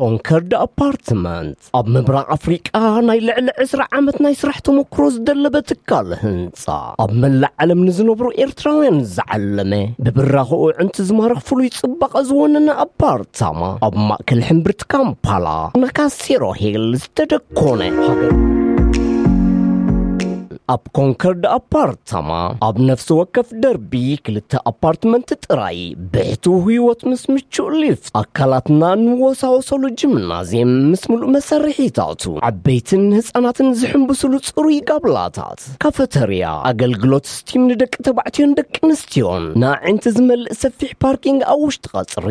ኮንከርድ ኣፓርትመንት ኣብ ምብራቕ ኣፍሪቃ ናይ ልዕሊ ዕስራ ዓመት ናይ ስራሕ ተመክሮ ዝደለበ ትካል ህንጻ፣ ኣብ መላእ ዓለም ንዝነብሩ ኤርትራውያን ዝዓለመ፣ ብብራኽኡ ዕንቲ ዝማርኽ ፍሉይ ጽባቐ ዝወነነ ኣፓርታማ፣ ኣብ ማእከል ሕምብርቲ ካምፓላ፣ ናካሴሮ ሂል ዝተደኮነ ሃገር። ኣብ ኮንከርድ ኣፓርታማ፣ ኣብ ነፍሲ ወከፍ ደርቢ ክልተ ኣፓርትመንት ጥራይ፣ ብሕቱ ህይወት ምስ ምቹእ ሊፍት፣ ኣካላትና ንወሳወሰሉ ጂምናዝየም ምስ ምሉእ መሳርሒታቱ፣ ዓበይትን ህጻናትን ዝሕንብስሉ ጽሩይ ጋብላታት፣ ካፈተርያ፣ ኣገልግሎት ስቲም ንደቂ ተባዕትዮን ደቂ ኣንስትዮን፣ ንኣዒንቲ ዝመልእ ሰፊሕ ፓርኪንግ ኣብ ውሽጢ ቀጽሪ።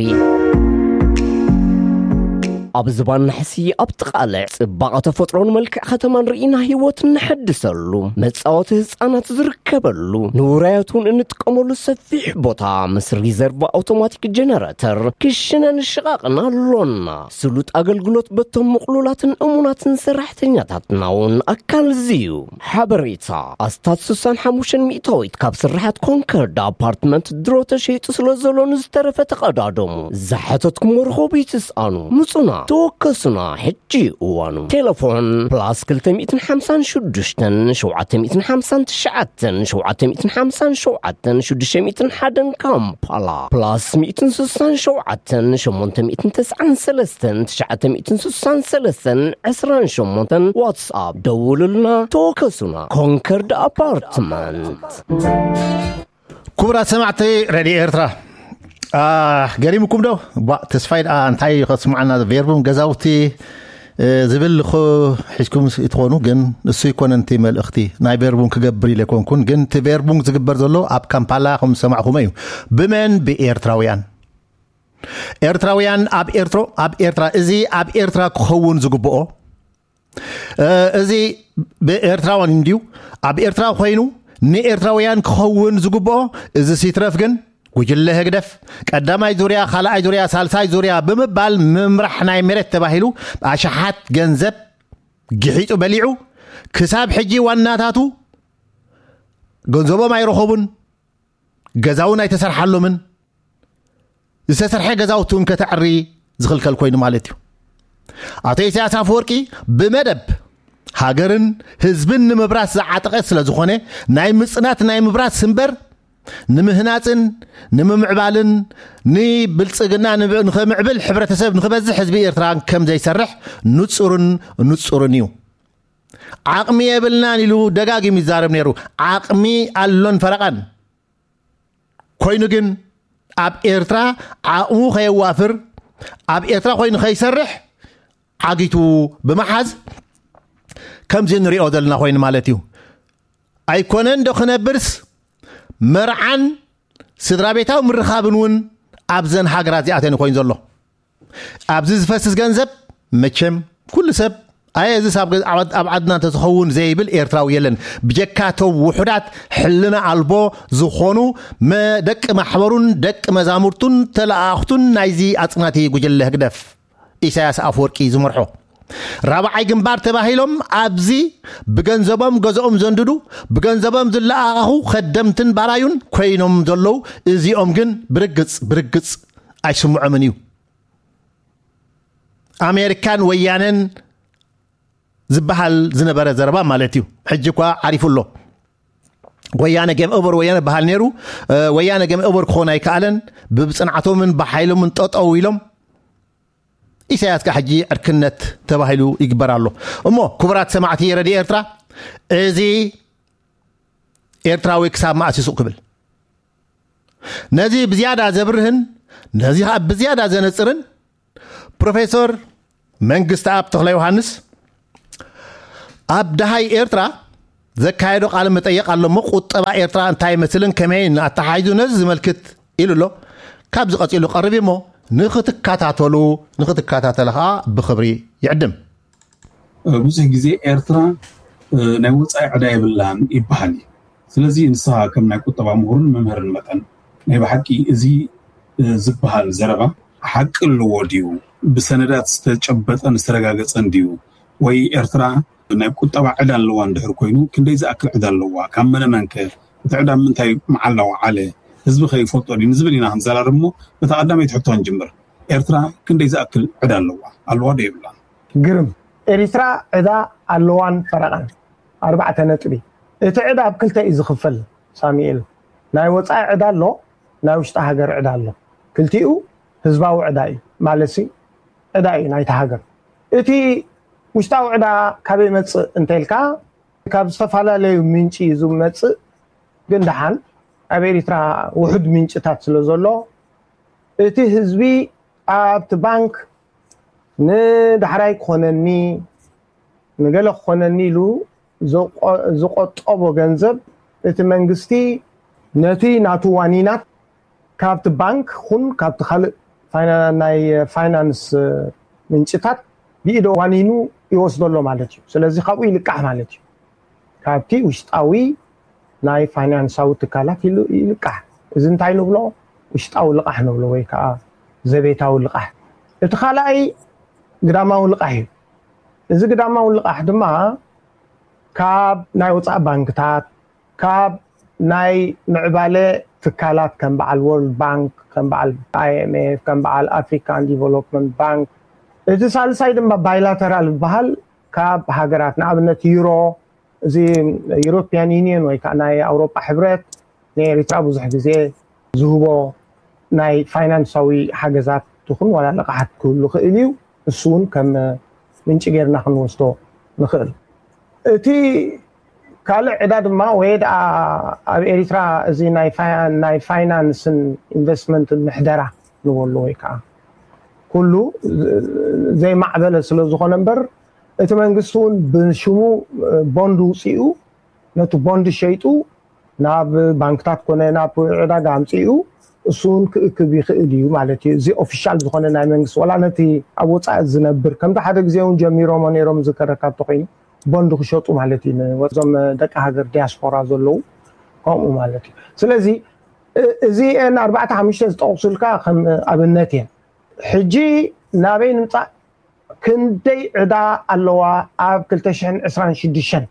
ኣብ ዝባን ናሕሲ ኣብ ጥቓ ልዕ ጽባቐ ተፈጥሮን መልክዕ ከተማን ርኢና ህይወት እነሐድሰሉ፣ መጻወቲ ህጻናት ዝርከበሉ፣ ንውራያት እውን እንጥቀመሉ ሰፊሕ ቦታ ምስ ሪዘርቭ ኣውቶማቲክ ጀነረተር ክሽነን ሽቓቕን ኣሎና። ስሉጥ ኣገልግሎት በቶም ምቕሉላትን እሙናትን ሰራሕተኛታትና እውን ኣካል እዚ እዩ። ሓበሬታ ኣስታት ስሳን ሓሙሽተን ሚእታዊት ካብ ስርሓት ኮንከርድ ኣፓርትመንት ድሮ ተሸይጡ ስለ ዘሎ ንዝተረፈ ተቐዳደሙ። ዝሓተትኩሞ ርኹብ ይትስኣኑ። ምጹና፣ ተወከሱና፣ ሕጂ እዋኑ። ቴሌፎን ፕላስ ክልተ ሚእትን ሓምሳን ሽዱሽተን ሸውዓተ ሚእትን ሓምሳን ትሽዓተን ሸውዓተ ሚእትን ሓምሳን ሸውዓተን ሽዱሽተ ሚእትን ሓደን ካምፓላ ፕላስ ሚእትን ስሳን ሸውዓተን ሸሞንተ ሚእትን ተስዓን ሰለስተን ትሽዓተ ሚእትን ስሳን ሰለስተን ዕስራን ሸሞንተን ዋትስኣፕ ደውሉልና፣ ተወከሱና። ኮንከርድ ኣፓርትመንት። ክቡራት ሰማዕቲ ሬድዮ ኤርትራ፣ አ፣ ገሪምኩም ዶ? ባ፣ ተስፋይ ደኣ እንታይ ከስምዓና? ቬርቡን ገዛውቲ፣ እ፣ ዝብል እኮ ሒዝኩም ስ-፣ ትኾኑ፣ ግን እሱ ይኮነን እቲ መልእኽቲ። ናይ ቬርቡን ክገብር ኢለ ኣይኮንኩን፣ ግን እቲ ቬርቡን ዝግበር ዘሎ ኣብ ካምፓላ ከም ዝሰማዕኹሞ እዩ። ብመን? ብኤርትራውያን። ኤርትራውያን ኣብ ኤርትሮ-፣ ኣብ ኤርትራ፣ እዚ ኣብ ኤርትራ ክኸውን ዝግብኦ፣ እ፣ እዚ ብኤርትራውያን እንድዩ። ኣብ ኤርትራ ኮይኑ ንኤርትራውያን ክኸውን ዝግብኦ፣ እዚ ሲትረፍ ግን ጉጅለ ህግደፍ ቀዳማይ ዙርያ፣ ካልኣይ ዙርያ፣ ሳልሳይ ዙርያ ብምባል ምምራሕ ናይ መሬት ተባሂሉ ኣሽሓት ገንዘብ ግሒጡ በሊዑ፣ ክሳብ ሕጂ ዋናታቱ ገንዘቦም ኣይረኸቡን፣ ገዛ እውን ኣይተሰርሓሎምን። ዝተሰርሐ ገዛውቲ እውን ከተዕሪ ዝኽልከል ኮይኑ ማለት እዩ። ኣቶ ኢሳያስ ኣፈወርቂ ብመደብ ሃገርን ህዝብን ንምብራስ ዝዓጠቐ ስለ ዝኾነ፣ ናይ ምጽናት ናይ ምብራስ እምበር ንምህናጽን ንምምዕባልን ንብልጽግና ንብ-፣ ንኸምዕብል ሕብረተሰብ ንኽበዝሕ ህዝቢ ኤርትራ ከም ዘይሰርሕ ንጹርን ንጹርን እዩ። ዓቕሚ የብልናን ኢሉ ደጋጊሙ ይዛረብ ነይሩ። ዓቕሚ ኣሎን ፈረቓን። ኮይኑ ግን ኣብ ኤርትራ ዓቕሙ ከየዋፍር፣ ኣብ ኤርትራ ኮይኑ ከይሰርሕ ዓጊቱ ብምሓዝ ከምዚ ንሪኦ ዘለና ኮይኑ ማለት እዩ። ኣይኮነን ዶ ክነብርስ መርዓን ስድራ ቤታዊ ምርኻብን እውን ኣብዘን ሃገራት እዚኣተን ኮይኑ ዘሎ። ኣብዚ ዝፈስስ ገንዘብ መቸም ኩሉ ሰብ ኣየ እዚስ ኣብ ገ-፣ ኣብ፣ ኣብ ዓድና እንተዝኸውን ዘይብል ኤርትራዊ የለን። ብጀካ እቶም ውሑዳት ሕልና ኣልቦ ዝኾኑ መ-፣ ደቂ ማሕበሩን ደቂ መዛሙርቱን ተለኣኣኽቱን ናይዚ ኣጽናቲ ጉጅለ ህግደፍ ኢሳያስ ኣፈወርቂ ዝመርሖ። ራብዓይ ግንባር ተባሂሎም ኣብዚ ብገንዘቦም ገዝኦም ዘንድዱ፣ ብገንዘቦም ዝለኣኣኹ ከደምትን ባራዩን ኮይኖም ዘለዉ እዚኦም ግን ብርግጽ፣ ብርግጽ ኣይስምዖምን እዩ። ኣሜሪካን ወያነን ዝበሃል ዝነበረ ዘረባ ማለት እዩ። ሕጂ እኳ ዓሪፉ ኣሎ። ወያነ ጌም ኦቨር ወያነ በሃል ነይሩ። እ፣ ወያነ ጌም ኦቨር ክኾን ኣይከኣለን። ብጽንዓቶምን ብሓይሎምን ጠጠው ኢሎም ኢሳያስ ከኣ ሕጂ ዕርክነት ተባሂሉ ይግበር ኣሎ። እሞ ክቡራት ሰማዕቲ ረድዮ ኤርትራ፣ እዚ ኤርትራዊ ክሳብ መኣስ ይሱቕ ክብል? ነዚ ብዝያዳ ዘብርህን ነዚ ከኣ ብዝያዳ ዘነጽርን ፕሮፌሰር መንግስተኣብ ተኽለ ዮሃንስ ኣብ ደሃይ ኤርትራ ዘካየዶ ቃለ መጠየቕ ኣሎ እሞ፣ ቁጠባ ኤርትራ እንታይ ይመስልን ከመይን ኣተሓሒዙ ነዚ ዝመልክት ኢሉ ኣሎ። ካብዚ ቀጺሉ ቀርብ እዩ እሞ፣ ንኽትከታተሉ፣ ንኽትከታተሉ ኸኣ ብኽብሪ ይዕድም። እ፣ ብዙሕ ግዜ ኤርትራ፣ እ፣ ናይ ወጻኢ ዕዳ የብላን ይበሃል እዩ። ስለዚ ንስኻ ከም ናይ ቁጠባ ምሁርን መምህርን መጠን ናይ ብሓቂ እዚ፣ እ፣ ዝበሃል ዘረባ ሓቂ ኣለዎ ድዩ? ብሰነዳት ዝተጨበጠን ዝተረጋገጸን ድዩ? ወይ ኤርትራ ናይ ቁጠባ ዕዳ ኣለዋ እንድሕር ኮይኑ ክንደይ ዝኣክል ዕዳ ኣለዋ? ካብ መነ መንከ? እቲ ዕዳ ኣብ ምንታይ መዓላ ወዓለ? ህዝቢ ከ ይፈልጦ ድዩ? ንዝብል ኢና ክንዘራረብ እሞ በታ ቀዳመይቲ ሕቶ ክንጅምር። ኤርትራ ክንደይ ዝኣክል ዕዳ ኣለዋ? ኣለዋ ዶ የብላን? ግርም። ኤሪትራ ዕዳ ኣለዋን ፈረቓን። ኣርባዕተ ነጥቢ። እቲ ዕዳ ኣብ ክልተ እዩ ዝኽፈል። ሳሚኤል፣ ናይ ወፃኢ ዕዳ ኣሎ፣ ናይ ውሽጢ ሃገር ዕዳ ኣሎ። ክልቲኡ ህዝባዊ ዕዳ እዩ። ማለት ዕዳ እዩ ናይቲ ሃገር። እቲ ውሽጣዊ ዕዳ ካበይ መፅእ እንተልካ፣ ካብ ዝተፈላለዩ ምንጪ እዩ ዝመፅእ። ግን ደሓን ኣብ ኤሪትራ ውሑድ ምንጭታት ስለ ዘሎ፣ እቲ ህዝቢ ኣብቲ ባንክ ንዳሕራይ ክኾነኒ፣ ንገለ ክኾነኒ ኢሉ ዝቆጠቦ ገንዘብ፣ እቲ መንግስቲ ነቲ ናቱ ዋኒናት ካብቲ ባንክ ኹን ካብቲ ካልእ ናይ ፋይናንስ ምንጭታት ብኢዶ ዋኒኑ ይወስዶ ኣሎ ማለት እዩ። ስለዚ ካብኡ ይልቃሕ ማለት እዩ። ካብቲ ውሽጣዊ ናይ ፋይናንሳዊ ትካላት ይልቃሕ። እዚ እንታይ ንብሎ? ውሽጣዊ ልቃሕ ንብሎ፣ ወይ ከዓ ዘቤታዊ ልቃሕ። እቲ ካልኣይ ግዳማዊ ልቃሕ እዩ። እዚ ግዳማዊ ልቃሕ ድማ ካብ ናይ ወፃኢ ባንክታት፣ ካብ ናይ ምዕባለ ትካላት ከም በዓል ወርልድ ባንክ፣ ከም በዓል ኣይኤምኤፍ፣ ከም በዓል ኣፍሪካን ዲቨሎፕመንት ባንክ፣ እቲ ሳልሳይ ድማ ባይላተራል ዝበሃል ካብ ሃገራት፣ ንኣብነት ዩሮ፣ እዚ ዩሮፒያን ዩኒየን ወይ ከዓ ናይ ኣውሮጳ ሕብረት ንኤሪትራ ብዙሕ ግዜ ዝህቦ ናይ ፋይናንሳዊ ሓገዛት ትኹን ዋላ ልቃሓት ክህሉ ክእል እዩ። እሱ እውን ከም ምንጭ ጌርና ክንወስዶ ንኽእል። እቲ ካልእ ዕዳ ድማ ወይ ደኣ ኣብ ኤሪትራ እዚ ናይ ፋይናንስን ኢንቨስትመንትን ምሕደራ ንበሎ ወይ ከዓ ኩሉ ዘይማዕበለ ስለ ዝኾነ እምበር፣ እቲ መንግስቲ እውን ብሽሙ ቦንድ ውፅኡ፣ ነቲ ቦንድ ሸይጡ ናብ ባንክታት ኮነ ናብ ዕዳጋ ኣምፅኡ፣ እሱ እውን ክእክብ ይኽእል እዩ ማለት እዩ። እዚ ኦፊሻል ዝኾነ ናይ መንግስቲ፣ ዋላ ነቲ ኣብ ወፃኢ ዝነብር፣ ከምቲ ሓደ ግዜ እውን ጀሚሮሞ ነይሮም ዝከረካ እንተኮይኑ፣ ቦንድ ክሸጡ ማለት እዩ። ንወዞም ደቂ ሃገር ዲያስፖራ ዘለዉ ከምኡ ማለት እዩ። ስለዚ እዚአን ኣርባዕተ ሓሙሽተ ዝጠቕሱልካ ከም ኣብነት እየን። ሕጂ ናበይ ንምፃእ? ክንደይ ዕዳ ኣለዋ ኣብ ክልተ ሽሕን ዕስራን ሽዱሽተን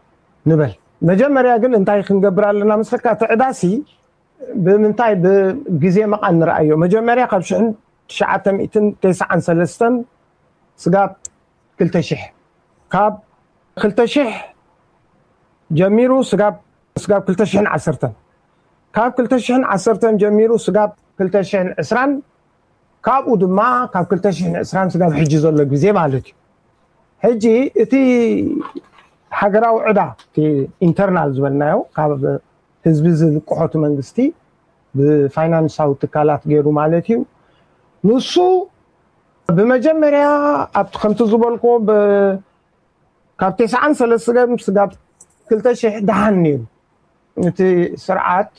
ንበል። መጀመርያ ግን እንታይ ክንገብር ኣለና መስለካ? እቲ ዕዳሲ ብምንታይ ብግዜ መቓን ንረኣዮ። መጀመርያ ካብ ሽሕን ትሽዓተ ሚእትን ተስዓን ሰለስተን ስጋብ ክልተ ሽሕ፣ ካብ ክልተ ሽሕ ጀሚሩ ስጋብ ስጋብ ክልተ ሽሕን ዓሰርተን፣ ካብ ክልተ ሽሕን ዓሰርተን ጀሚሩ ስጋብ ክልተ ሽሕን ዕስራን፣ ካብኡ ድማ ካብ ክልተ ሽሕን ዕስራን ስጋብ ሕጂ ዘሎ ግዜ ማለት እዩ። ሕጂ እቲ ሃገራዊ ዕዳ፣ እቲ ኢንተርናል ዝበልናዮ፣ ካብ ህዝቢ ዝልቅሖ እቲ መንግስቲ ብፋይናንሳዊ ትካላት ገይሩ ማለት እዩ። ንሱ ብመጀመርያ ኣብቲ ከምቲ ዝበልኩዎ ብ-፣ ካብ ተስዓን ሰለስተን ስጋብ ክልተ ሽሕ ደሓን ነይሩ። እቲ ስርዓት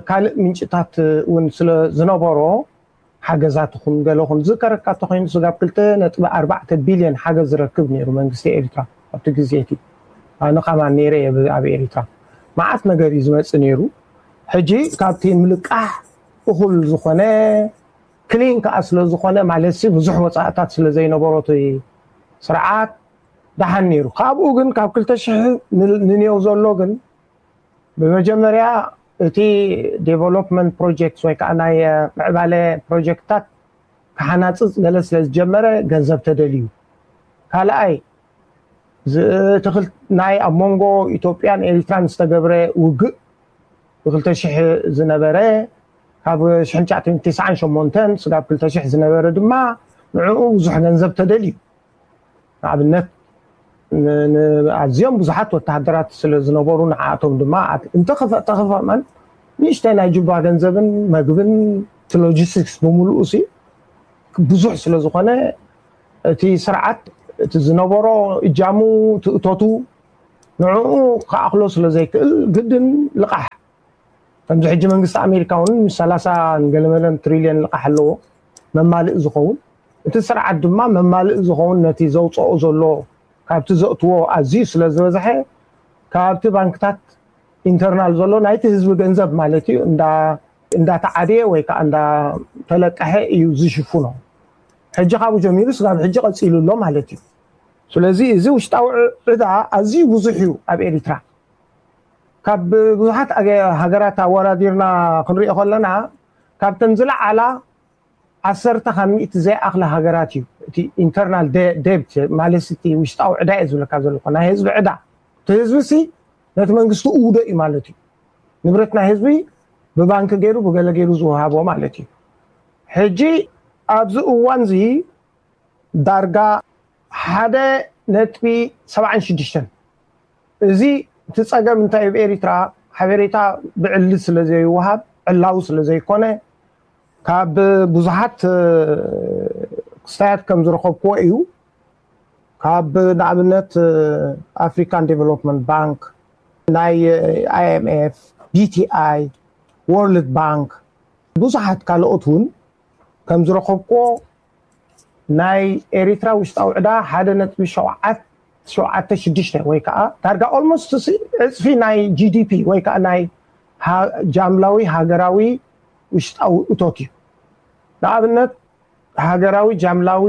ካልእ ምንጭታት እውን ስለ ዝነበሮ፣ ሓገዛት ይኹን ገለ ይኹን ዝከረካ እንተኾይኑ፣ ስጋብ ክልተ ነጥቢ ኣርባዕተ ቢልዮን ሓገዝ ዝረክብ ነይሩ መንግስቲ ኤርትራ ኣብቲ ግዜ እቲ። ኣነ ከማን ነይረ እየ ብ-፣ ኣብ ኤርትራ መዓት ነገር እዩ ዝመጽእ ነይሩ። ሕጂ ካብቲ ምልቃሕ እኹል ዝኾነ ክሊን ከኣ ስለ ዝኾነ፣ ማለት ሲ ብዙሕ ወጻእታት ስለ ዘይነበሮ እቲ ስርዓት ደሓን ነይሩ። ካብኡ ግን ካብ ክልተ ሽሕ ን-፣ ንኔው ዘሎ ግን ብመጀመርያ እቲ ዴቨሎፕመንት ፕሮጀክት ወይ ከዓ ናይ ምዕባለ ፕሮጀክትታት ክሓናፅፅ ገለ ስለ ዝጀመረ ገንዘብ ተደልዩ። ካልኣይ ዝ-፣ እቲ ክል-፣ ናይ ኣብ መንጎ ኢትዮጵያን ኤሪትራን ዝተገብረ ውግእ ብክልተ ሽሕ ዝነበረ፣ ካብ ሽሕን ትሽዓተ ሚእትን ተስዓን ሸሞንተን ስጋብ ክልተ ሽሕ ዝነበረ ድማ ንዕኡ ብዙሕ ገንዘብ ተደልዩ። ንኣብነት ን-፣ ን-፣ ኣዝዮም ብዙሓት ወተሃደራት ስለ ዝነበሩ ንዓኣቶም ድማ ኣት-፣ እንተኸፈ-፣ ተኸፈመን ንእሽተይ ናይ ጁባ ገንዘብን መግብን እቲ ሎጂስቲክስ ብምሉኡ ሲ ብዙሕ ስለ ዝኾነ እቲ ስርዓት እቲ ዝነበሮ እጃሙ ትእቶቱ ንዕኡ ክኣኽሎ ስለ ዘይክእል ግድን ልቓሕ። ከምዚ ሕጂ መንግስቲ ኣሜሪካ እውን ምስ ሰላሳ ንገለመለን ትሪልዮን ልቓሕ ኣለዎ መማልእ ዝኸውን። እቲ ስርዓት ድማ መማልእ ዝኸውን ነቲ ዘውፅኦ ዘሎ ካብቲ ዘእትዎ ኣዝዩ ስለ ዝበዝሐ ካብቲ ባንክታት ኢንተርናል ዘሎ ናይቲ ህዝቢ ገንዘብ ማለት እዩ እንዳ-፣ እንዳተዓድየ ወይ ከዓ እንዳተለቀሐ እዩ ዝሽፍኖ። ሕጂ ካብኡ ጀሚሩ ስጋብ ሕጂ ቀፂሉ ኣሎ ማለት እዩ። ስለዚ እዚ ውሽጣዊ ዕ-፣ ዕዳ ኣዝዩ ብዙሕ እዩ ኣብ ኤሪትራ። ካብ ብዙሓት ኣገ-፣ ሃገራት ኣወዳዲርና ክንሪኦ ከለና ካብተን ዝለዓላ ዓሰርተ ካብ ሚእቲ ዘይኣኽላ ሃገራት እዩ። እቲ ኢንተርናል ደብት ማለት እቲ ውሽጣዊ ዕዳ እየ ዝብለካ ዘለኹ፣ ናይ ህዝቢ ዕዳ። እቲ ህዝቢ ሲ ነቲ መንግስቲ እውዶ እዩ ማለት እዩ። ንብረት ናይ ህዝቢ ብባንክ ገይሩ ብገለ ገይሩ ዝወሃቦ ማለት እዩ። ሕጂ ኣብዚ እዋን እዚ ዳርጋ ሓደ ነጥቢ ሰብዓን ሽዱሽተን። እዚ እቲ ጸገም እንታይ እዩ? ኣብ ኤሪትራ ሓበሬታ ብዕሊ ስለ ዘይወሃብ፣ ዕላዊ ስለ ዘይኮነ፣ ካብ ብዙሓት ክስታያት ከም ዝረኸብክዎ እዩ። ካብ ንኣብነት ኣፍሪካን ዴቨሎፕመንት ባንክ፣ ናይ ኣይኤምኤፍ፣ ቢቲኣይ፣ ወርልድ ባንክ፣ ብዙሓት ካልኦት እውን ከም ዝረኸብክዎ፣ ናይ ኤሪትራ ውሽጣዊ ዕዳ ሓደ ነጥቢ ሸውዓተ ሽዱሽተ ወይ ከዓ ዳርጋ ኦልሞስት ዕፅፊ ናይ ጂዲፒ ወይ ከዓ ናይ ጃምላዊ ሃገራዊ ውሽጣዊ እቶት እዩ። ንኣብነት ሃገራዊ ጃምላዊ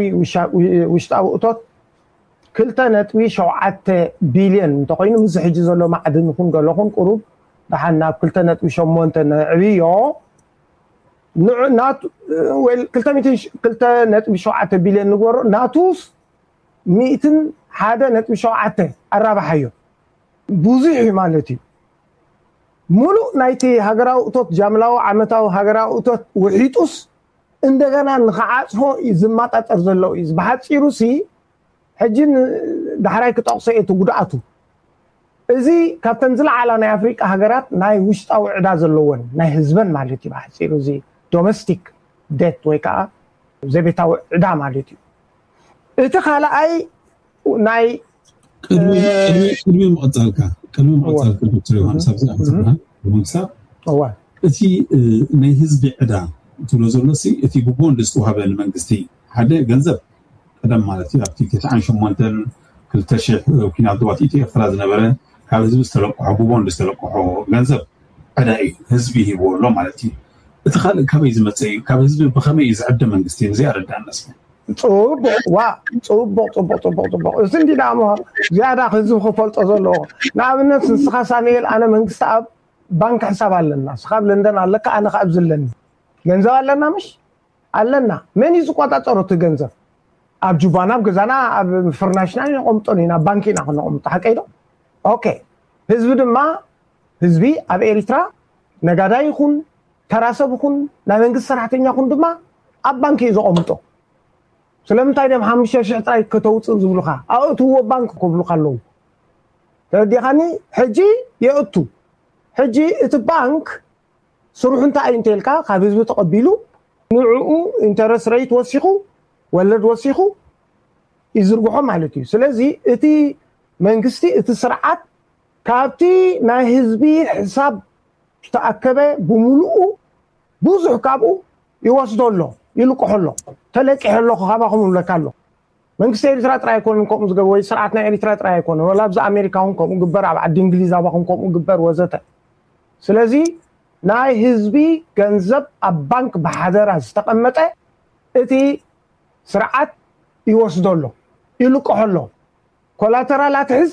ውሽጣዊ እቶት ክልተ ነጥቢ ሸውዓተ ቢልዮን እንተኮይኑ፣ ምስ ሕጂ ዘሎ ማዕድን ይኹን ገለኹን ቁሩብ ደሓን ናብ ክልተ ነጥቢ ሸሞንተ ነዕብዮ። ክልተ ነጥቢ ሸውዓተ ቢልዮን ንግበሮ፣ ናቱስ ሚእትን ሓደ ነጥቢ ሸውዓተ ኣራባሓዮ። ብዙሕ እዩ ማለት እዩ። ሙሉእ ናይቲ ሃገራዊ እቶት፣ ጃምላዊ ዓመታዊ ሃገራዊ እቶት ውሒጡስ እንደገና ንክዓፅፎ እዩ ዝማጣጠር ዘሎ እዩ። ብሓፂሩ ሲ ሕጂ ዳሕራይ ክጠቕሶ እየ እቲ ጉድኣቱ። እዚ ካብተን ዝለዓላ ናይ ኣፍሪቃ ሃገራት ናይ ውሽጣዊ ዕዳ ዘለወን ናይ ህዝበን ማለት እዩ። ብሓፂሩ እዚ ዶሜስቲክ ዴት ወይ ከዓ ዘቤታዊ ዕዳ ማለት እዩ። እቲ ካልኣይ ናይ ቅድሚ ምቕፃልካ ቅድሚ ምቕፃልካ ዶክተር ዮሃንስ ኣብዚ ኣምፅና ብምክሳብ እቲ ናይ ህዝቢ ዕዳ ትብሎ ዘሎ እቲ ብቦንድ ዝተዋሃበ ንመንግስቲ ሓደ ገንዘብ ቀደም ማለት እዩ ኣብቲ ተስዓን ሸሞንተን ክልተ ሽሕ ኩናት ዶባት ኢትዮ ኤርትራ ዝነበረ ካብ ህዝቢ ዝተለቅሖ ብቦንድ ዝተለቅሖ ገንዘብ ዕዳ እዩ ህዝቢ ሂብዎ ኣሎ ማለት እዩ። እቲ ካልእ ካበይ ዝመፀ እዩ? ካብ ህዝቢ ብኸመይ እዩ ዝዕደ መንግስቲ? እዚ ኣረዳእና እስኪ። ፅቡቅ ዋ ፅቡቅ ፅቡቅ ፅቡቅ ፅቡቅ እዚ እንዲ ደኣ እሞ ዝያዳ ህዝቢ ክፈልጦ ዘለዎ። ንኣብነት ንስኻ ሳሙኤል ኣነ መንግስቲ ኣብ ባንክ ሕሳብ ኣለና፣ ንስኻ ኣብ ለንደን ኣለካ ኣነ ከኣ ኣብዚ ኣለኒ። ገንዘብ ኣለና ምሽ ኣለና። መን እዩ ዝቆጻጸሮ እቲ ገንዘብ? ኣብ ጁባና ኣብ ገዛና ኣብ ፍርናሽና ነቐምጦን ኢና፣ ኣብ ባንክ ኢና ክነቐምጦ ሓቀይ ዶ? ኦኬ። ህዝቢ ድማ ህዝቢ ኣብ ኤሪትራ ነጋዳይ ይኹን ተራ ሰብ ይኹን ናይ መንግስቲ ሰራሕተኛ ይኹን ድማ ኣብ ባንክ እዩ ዘቐምጦ። ስለምንታይ ድዮም ሓሙሽተ ሽሕ ጥራይ ከተውፅእ ዝብሉኻ? ኣእትዎ ባንክ ክብሉኻ ኣለዉ። ተረዲኻኒ? ሕጂ የእቱ። ሕጂ እቲ ባንክ ስርሑ እንታይ እዩ እንተልካ ካብ ህዝቢ ተቐቢሉ ንዕኡ ኢንተረስት ረይት ወሲኹ ወለድ ወሲኹ ይዝርግሖ ማለት እዩ። ስለዚ እቲ መንግስቲ እቲ ስርዓት ካብቲ ናይ ህዝቢ ሕሳብ ዝተኣከበ ብምሉኡ ብዙሕ ካብኡ ይወስዶ ኣሎ፣ ይልቅሖ ኣሎ። ተለቂሐ ኣለኹ ካባኹም ይብለካ ኣሎ። መንግስቲ ኤርትራ ጥራይ ኣይኮነን ከምኡ ዝገበረ ወይ ስርዓት ናይ ኤርትራ ጥራይ ኣይኮነን፣ ወላ ኣብዚ ኣሜሪካ እውን ከምኡ ግበር፣ ኣብ ዓዲ እንግሊዝ ኣባኹም ከምኡ ግበር ወዘተ። ስለዚ ናይ ህዝቢ ገንዘብ ኣብ ባንክ ብሓደራ ዝተቐመጠ እቲ ስርዓት ይወስዶ ኣሎ፣ ይልቅሖ ኣሎ። ኮላተራል ኣትሕዝ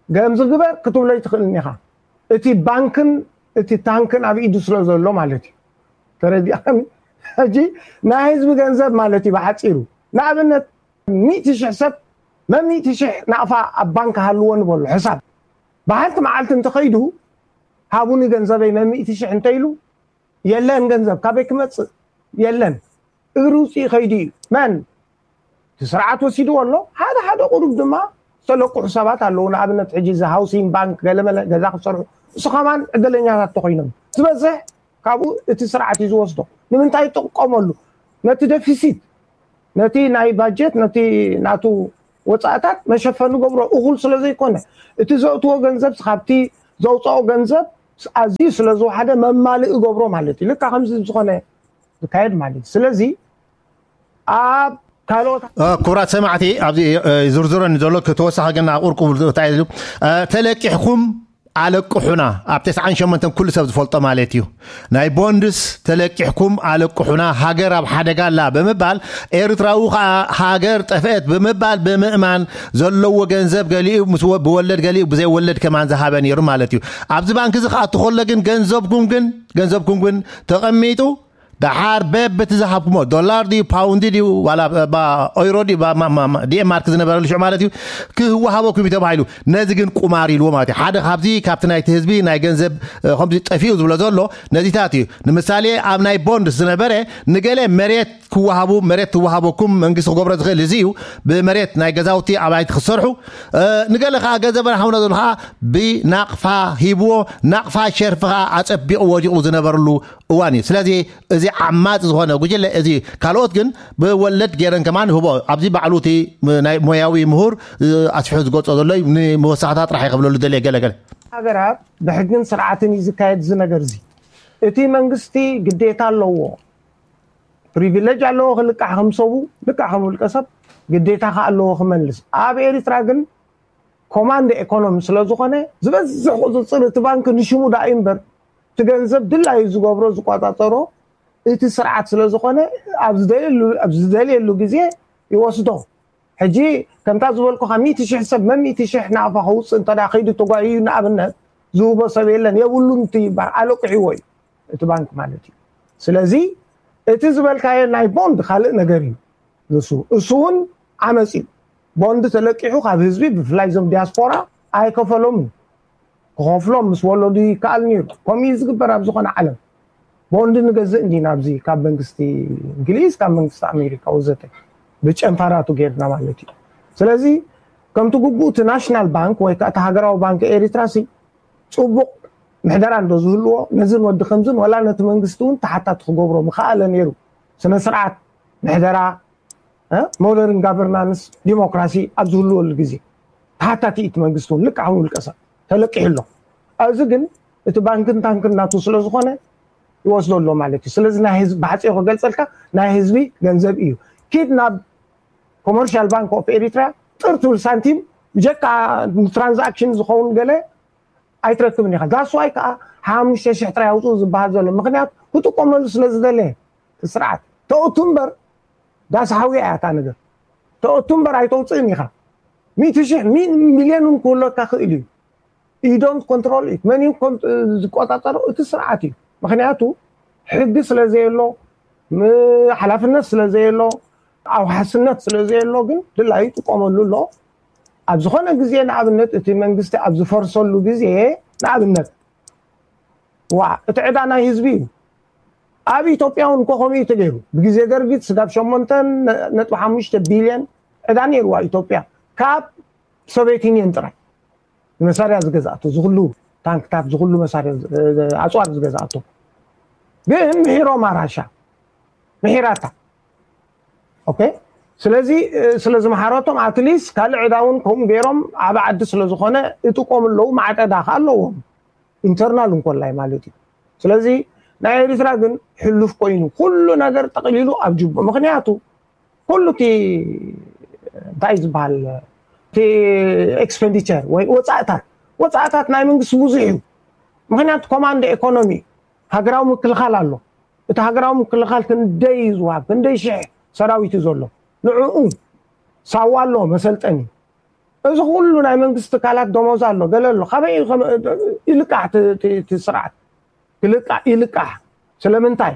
ገምዚ ግበር ክትብሎ ይትኽእልን ኢኻ። እቲ ባንክን እቲ ታንክን ኣብ ኢዱ ስለ ዘሎ ማለት እዩ። ተረዲእካኒ? ሕጂ ናይ ህዝቢ ገንዘብ ማለት እዩ ብሓፂሩ። ንኣብነት ሚእቲ ሽሕ ሰብ መሚእቲ ሽሕ ናቕፋ ኣብ ባንክ ሃልዎ ንበሎ ሕሳብ። ብሓንቲ መዓልቲ እንተኸይዱ ሃቡኒ ገንዘበይ መሚእቲ ሽሕ እንተኢሉ የለን ገንዘብ ካበይ ክመፅእ የለን። እግሪ ውፅኢ ከይዱ እዩ። መን እቲ ስርዓት ወሲድዎ ኣሎ። ሓደ ሓደ ቁሩብ ድማ ዝተለቅሑ ሰባት ኣለዉ። ንኣብነት ሕጂ እዚ ሃውሲንግ ባንክ ገለመለ ገዛ ክሰርሑ እሱ ከማን ዕድለኛታት ተኮይኖም ዝበዝሕ ካብኡ እቲ ስርዓት እዩ ዝወስዶ። ንምንታይ ይጥቀመሉ? ነቲ ደፊሲት ነቲ ናይ ባጀት ነቲ ናቱ ወፃእታት መሸፈኒ ገብሮ እኹል ስለ ዘይኮነ እቲ ዘእትዎ ገንዘብ ካብቲ ዘውፅኦ ገንዘብ ኣዝዩ ስለ ዝወሓደ መማልእ ገብሮ ማለት እዩ። ልካ ከምዚ ዝኾነ ዝካየድ ማለት እዩ። ስለዚ ኣብ ካልኦት ክቡራት ሰማዕቲ ኣብዚ ዝርዝረኒ ዘሎ ተወሳኺ ግን ኣብ ቁርቁ እንታይ ኢሉ ተለቂሕኩም ኣለቅሑና ኣብ ተስዓን ሸሞንተን ኩሉ ሰብ ዝፈልጦ ማለት እዩ። ናይ ቦንድስ ተለቂሕኩም ኣለቅሑና ሃገር ኣብ ሓደጋ ኣላ ብምባል ኤርትራዊ ከዓ ሃገር ጠፍአት ብምባል ብምእማን ዘለዎ ገንዘብ ገሊኡ ምስ ብወለድ ገሊኡ ብዘይወለድ ከማን ዝሃበ ነይሩ ማለት እዩ። ኣብዚ ባንክ እዚ ክኣቱ ከሎ ግን ገንዘብኩም ግን ገንዘብኩም ግን ተቐሚጡ ደሓር በብቲ ዝሃብኩሞ ዶላር ድዩ ፓውንድ ድዩ ዋላ ባ- ኦይሮ ድዩ ባ- ማ- ማ- ማ- ዲኤንማርክ ዝነበረሉ ሽዑ ማለት እዩ ክህወሃበኩም እዩ ተባሂሉ። ነዚ ግን ቁማር ኢልዎ ማለት እዩ። ሓደ ካብዚ ካብቲ ናይቲ ህዝቢ ናይ ገንዘብ እ፣ ከምዚ ጠፊኡ ዝብሎ ዘሎ ነዚታት እዩ። ንምሳሌ ኣብ ናይ ቦንድ ዝነበረ ንገለ መሬት ክወሃቡ መሬት ትወሃበኩም መንግስቲ ክገብሮ ዝኽእል እዚ እዩ። ብመሬት ናይ ገዛውቲ ኣባይቲ ክሰርሑ እ፣ ንገለ ከዓ ገንዘብ ረሃውና ዘሎ ከዓ ብናቕፋ ሂብዎ ናቕፋ ሸርፊ ከዓ ኣፀቢቑ ወዲቑ ዝነበርሉ እዋን እዩ። ስለዚ እዚ ዓማፅ ዝኾነ ጉጅለ እዚ ካልኦት ግን ብወለድ ገይረን ከማን ይህቦ ኣብዚ ባዕሉ እቲ ናይ ሞያዊ ምሁር እ፣ ኣስፊሑ ዝገልፆ ዘሎ እዩ። ንመወሳኽታ ጥራሕ ይኸብለሉ ደልየ ገለገለ ሃገራት ብሕግን ስርዓትን እዩ ዝካየድ እዚ ነገር እዚ። እቲ መንግስቲ ግዴታ ኣለዎ፣ ፕሪቪሌጅ ኣለዎ ክልቃሕ ከም ሰቡ ልቃሕ ከም ውልቀ ሰብ ግዴታ ከ ኣለዎ ክመልስ። ኣብ ኤሪትራ ግን ኮማንድ ኤኮኖሚ ስለ ዝኾነ ዝበዝሕ ቁፅፅር እቲ ባንክ ንሽሙ ዳኣ እዩ እምበር እቲ ገንዘብ ድላዩ ዝገብሮ ዝቆፃፀሮ እቲ ስርዓት ስለ ዝኾነ ኣብ ዝደልየሉ ግዜ ይወስዶ። ሕጂ ከምታ ዝበልኩኻ ሚእቲ ሽሕ ሰብ መን ሚእቲ ሽሕ ናቕፋ ከውፅእ እንተ ከይዱ ተጓዩ ንኣብነት ዝህቦ ሰብ የለን የብሉን እቲ ይበሃል ኣለቂሕዎ እዩ እቲ ባንክ ማለት እዩ። ስለዚ እቲ ዝበልካዮ ናይ ቦንድ ካልእ ነገር እዩ። ንሱ እሱ እውን ዓመፅ እዩ። ቦንድ ተለቂሑ ካብ ህዝቢ ብፍላይ እዞም ዲያስፖራ ኣይከፈሎም እዩ። ክኸፍሎም ምስ ወለዱ ይከኣል ነይሩ። ከምኡ እዩ ዝግበር ኣብ ዝኾነ ዓለም። ቦንድ ንገዝእ እንዲና ኣብዚ ካብ መንግስቲ እንግሊዝ ካብ መንግስቲ ኣሜሪካ ወዘተ ብጨንፋራቱ ጌርና ማለት እዩ። ስለዚ ከምቲ ግቡእ እቲ ናሽናል ባንክ ወይ ከዓ እቲ ሃገራዊ ባንክ ኤሪትራ ሲ ፅቡቕ ምሕደራ እንዶ ዝህልዎ ነዝን ወዲ ከምዝን ወላ ነቲ መንግስቲ እውን ተሓታቲ ክገብሮ ምኸኣለ ነይሩ። ስነ ስርዓት ምሕደራ ሞደርን ጋቨርናንስ ዲሞክራሲ ኣብ ዝህልወሉ ግዜ ተሓታቲ እቲ መንግስቲ እውን ልክዕ ከም ውልቀ ሰብ ተለቂሑ ኣሎ። ኣብዚ ግን እቲ ባንክን ታንክን ናቱ ስለ ዝኾነ ይወስዶ ኣሎ ማለት እዩ። ስለዚ ናይ ህዝቢ ብሓፂሩ ክገልፀልካ ናይ ህዝቢ ገንዘብ እዩ። ኪድ ናብ ኮመርሻል ባንክ ኦፍ ኤሪትራ ጥር ትብል ሳንቲም ብጀካ ንትራንዛክሽን ዝኸውን ገለ ኣይትረክብን ኢኻ። ዳስዋይ ከዓ ሓሙሽተ ሽሕ ጥራይ ኣውፅኡ ዝበሃል ዘሎ ምክንያት ክጥቀመሉ ስለ ዝደለ እቲ ስርዓት ተእቱ እምበር ዳስ ሓውያ እያ እታ ነገር ተእቱ እምበር ኣይተውፅእን ኢኻ። ሚእቲ ሽሕ ሚልዮን እውን ክህለካ ክእል እዩ። ኢዶን ኮንትሮል እዩ መን እዩ ዝቆፃፀሮ እቲ ስርዓት እዩ። ምክንያቱ ሕጊ ስለ ዘየሎ ሓላፍነት ስለ ዘየሎ ኣውሓስነት ስለ ዘየሎ ግን ድላዩ ይጥቀመሉ ኣሎ። ኣብ ዝኾነ ግዜ ንኣብነት እቲ መንግስቲ ኣብ ዝፈርሰሉ ግዜ ንኣብነት ዋ እቲ ዕዳ ናይ ህዝቢ እዩ። ኣብ ኢትዮጵያ እውን እኮ ከምኡ እዩ ተገይሩ። ብግዜ ደርጊ ስጋብ ሸሞንተ ነጥቢ ሓሙሽተ ቢልዮን ዕዳ ነይርዋ ኢትዮጵያ ካብ ሶቪየት ዩኒየን ጥራይ ንመሳርያ ዝገዝኣቶ ዝኩሉ ታንክታት ዝኩሉ መሳርያ ኣፅዋር ዝገዝኣቶ ግን ምሒሮማ ራሻ ምሒራታ ኦኬ ስለዚ ስለ ዝመሓረቶም ኣትሊስት ካልእ ዕዳ እውን ከምኡ ገይሮም ዓብ ዓዲ ስለ ዝኾነ ይጥቀሙ ኣለዉ ማዕቀዳ ከ ኣለዎም ኢንተርናል እንኮላይ ማለት እዩ ስለዚ ናይ ኤሪትራ ግን ሕሉፍ ኮይኑ ኩሉ ነገር ጠቕሊሉ ኣብ ጅቡ ምክንያቱ ኩሉ እቲ እንታይ ዝበሃል እቲ ኤክስፔንዲቸር ወይ ወፃእታት ወፃእታት ናይ መንግስቲ ብዙሕ እዩ ምክንያቱ ኮማንድ ኤኮኖሚ ሃገራዊ ምክልኻል ኣሎ እቲ ሃገራዊ ምክልኻል ክንደይ እዩ ዝወሃብ ክንደይ ሽሕ ሰራዊት እዩ ዘሎ ንዕኡ ሳዋ ኣሎ መሰልጠኒ እዚ ኩሉ ናይ መንግስቲ ትካላት ደሞዝ ኣሎ ገለ ኣሎ ካበይ ይልቃሕ እቲ ስርዓት ክልቃሕ ይልቃሕ ስለምንታይ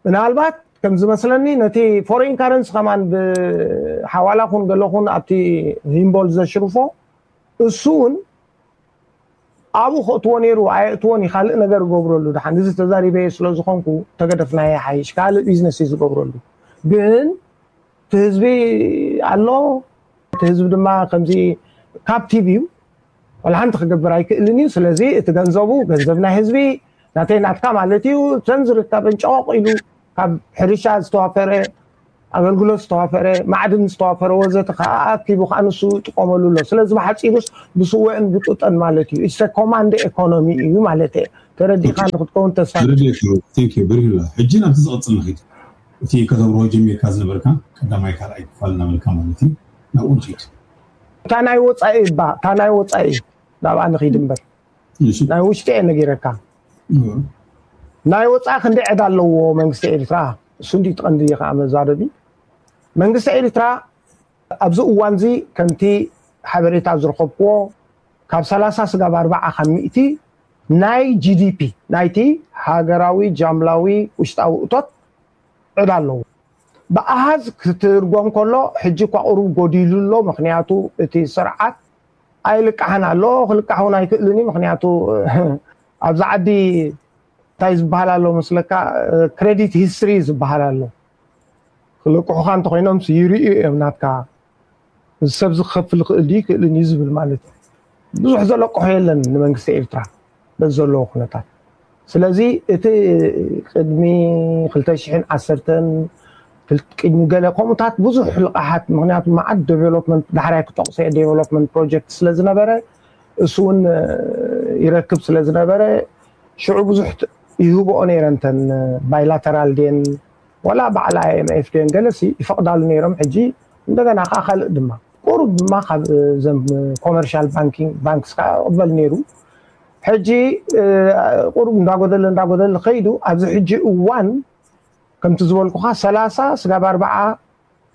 ምናልባት ከም ዝመስለኒ ነቲ ፎሬን ካረንሲ ከማን ብሓዋላ ኩን ገለ ኩን ኣብቲ ሂምቦል ዘሽርፎ እሱ እውን ኣብኡ ከእትዎ ነይሩ ኣየእትዎን እዩ ካልእ ነገር እገብረሉ ድሓን እዚ ተዛሪበየ ስለ ዝኾንኩ ተገደፍናዮ ሓይሽ ካልእ ቢዝነስ እዩ ዝገብረሉ ግን እቲ ህዝቢ ኣሎ እቲ ህዝቢ ድማ ከምዚ ካፕቲቭ እዩ ወላ ሓንቲ ክገብር ኣይክእልን እዩ ስለዚ እቲ ገንዘቡ ገንዘብ ናይ ህዝቢ ናተይ ናትካ ማለት እዩ እተን ዝርከበን ጨቆቕ ኢሉ ካብ ሕርሻ ዝተዋፈረ ኣገልግሎት ዝተዋፈረ ማዕድን ዝተዋፈረ ወዘተ ከዓ ኣኪቡ ከዓ ንሱ ይጥቀመሉ ኣሎ ስለዚ ብሓፂሩስ ብስወእን ብጡጠን ማለት እዩ ኢሰ ኮማንድ ኤኮኖሚ እዩ ማለት ተረዲእካ ንክትከውን ተስፋ ብርሂላ ሕጂ ናብቲ ዝቐፅል ንኸይድ እቲ ከተብርሆ ጀሚርካ ዝነበርካ ቀዳማይ ካልኣይ ክፋል እናበልካ ማለት እዩ ናብኡ ንኸይድ እታ ናይ ወፃኢ እባ እታ ናይ ወፃኢ ናብኣ ንኸይድ እምበር ናይ ውሽጢ እየ ነጊረካ ናይ ወፃኢ ክንደይ ዕዳ ኣለዎ መንግስቲ ኤርትራ እሱ እንዲ ትቐንዲ ከዓ መዛረቢ መንግስቲ ኤርትራ ኣብዚ እዋንዚ ከምቲ ሓበሬታ ዝረኸብክዎ ካብ ሰላሳ ስጋብ ኣርባዓ ካብ ሚእቲ ናይ ጂዲፒ ናይቲ ሃገራዊ ጃምላዊ ውሽጣዊ እቶት ዕዳ ኣለዎ። ብኣሃዝ ክትርጎም ከሎ ሕጂ እኳ ቁሩብ ጎዲሉ ኣሎ። ምክንያቱ እቲ ስርዓት ኣይልቃሕን ኣሎ፣ ክልቃሕ እውን ኣይክእልን እዩ። ምክንያቱ ኣብዚ ዓዲ እንታይ ዝበሃል ኣሎ መስለካ፣ ክሬዲት ሂስትሪ ዝበሃል ኣሎ። ክልቅሑኻ እንተኮይኖም ይርእዩ እዮም ናትካ፣ እዚ ሰብ እዚ ክኸፍል ይኽእል ድዩ ይክእልን እዩ ዝብል ማለት እዩ። ብዙሕ ዘለቅሖ የለን ንመንግስቲ ኤርትራ በዚ ዘለዎ ኩነታት። ስለዚ እቲ ቅድሚ ክልተ ሽሕን ዓሰርተን ቅድሚ ገለ ከምኡታት ብዙሕ ልቃሓት፣ ምክንያቱ መዓት ዴቨሎፕመንት ዳሕራይ ክጠቕሶ እየ፣ ዴቨሎፕመንት ፕሮጀክት ስለ ዝነበረ፣ እሱ እውን ይረክብ ስለ ዝነበረ፣ ሽዑ ብዙሕ ይህብኦ ነይረን እተን ባይላተራል ድየን ዋላ በዓል ኣይኤምኤፍ ድየን ገለሲ ይፈቕዳሉ ነይሮም። ሕጂ እንደገና ከዓ ካልእ ድማ ቁሩብ ድማ ካብ ዘም ኮመርሻል ባንኪንግ ባንክስ ከዓ ይቕበል ነይሩ። ሕጂ ቁሩብ እንዳጎደለ እንዳጎደለ ከይዱ ኣብዚ ሕጂ እዋን ከምቲ ዝበልኩኻ ሰላሳ ስጋብ ኣርባዓ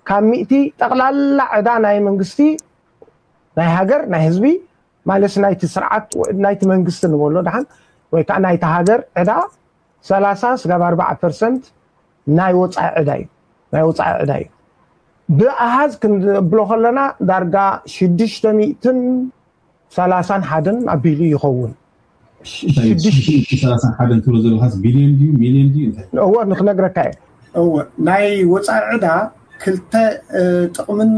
ካብ ሚእቲ ጠቕላላ ዕዳ ናይ መንግስቲ ናይ ሃገር ናይ ህዝቢ ማለት ናይቲ ስርዓት ናይቲ መንግስቲ ንበሎ ደሓን ወይ ከዓ ናይቲ ሃገር ዕዳ ሰላሳ ስጋብ ኣርባዓ ፐርሰንት ናይ ወፃኢ ዕዳ እዩ ናይ ወፃኢ ዕዳ እዩ። ብኣሃዝ ክንብሎ ከለና ዳርጋ ሽዱሽተ ሚእትን ሰላሳን ሓደን ኣቢሉ ይኸውን። ሰላሳን ሓደን ትብሎ ዘለካስ ቢልዮን ድዩ ሚልዮን ድዩ እንታይ? እወ ንክነግረካ እየ። እወ ናይ ወፃኢ ዕዳ ክልተ ጥቕምን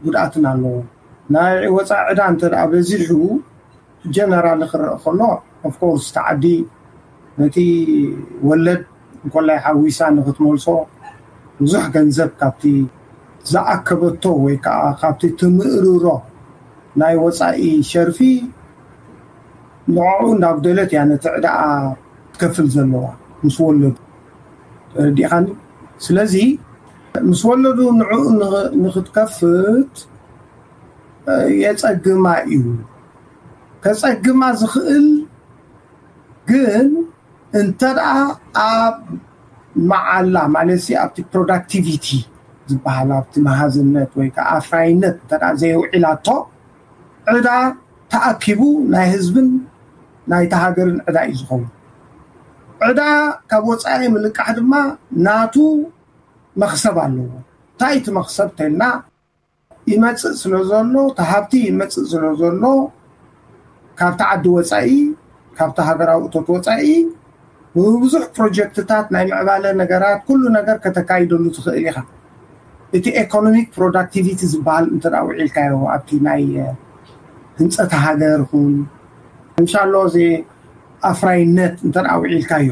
ጉድኣትን ኣለዎ። ናይ ወፃኢ ዕዳ እንተ በዚሑ ጀነራል ክረአ ከሎ ኦፍኮርስ ተዓዲ ነቲ ወለድ እንኮላይ ሓዊሳ ንክትመልሶ ብዙሕ ገንዘብ ካብቲ ዝኣከበቶ ወይ ከዓ ካብቲ ትምእርሮ ናይ ወፃኢ ሸርፊ ንዕኡ እንዳጉደለት እያ ነቲ ዕዳኣ ትከፍል ዘለዋ ምስ ወለዱ። ተረዲእኻኒ? ስለዚ ምስ ወለዱ ንዕኡ ንኽትከፍት የፀግማ እዩ። ከፀግማ ዝኽእል ግን እንተ ደኣ ኣብ መዓላ ማለት ኣብቲ ፕሮዳክቲቪቲ ዝበሃል ኣብቲ መሃዝነት ወይ ከዓ ኣፍራይነት እንተ ዘይውዒላቶ ዕዳ ተኣኪቡ ናይ ህዝብን ናይታ ሃገርን ዕዳ እዩ ዝኸውን። ዕዳ ካብ ወፃኢ ምልቃሕ ድማ ናቱ መክሰብ ኣለዎ። እንታይ እቲ መክሰብ ተልና ይመፅእ ስለ ዘሎ እቲ ሃብቲ ይመፅእ ስለ ዘሎ ካብቲ ዓዲ ወፃኢ ካብቲ ሃገራዊ እቶት ወፃኢ ብብዙሕ ፕሮጀክትታት ናይ ምዕባለ ነገራት ኩሉ ነገር ከተካይደሉ ትኽእል ኢኻ። እቲ ኤኮኖሚክ ፕሮዳክቲቪቲ ዝበሃል እንተ ውዒልካዮ ኣብቲ ናይ ህንፀት ሃገር ኹን እንሻሎ እዚ ኣፍራይነት እንተ ውዒልካዮ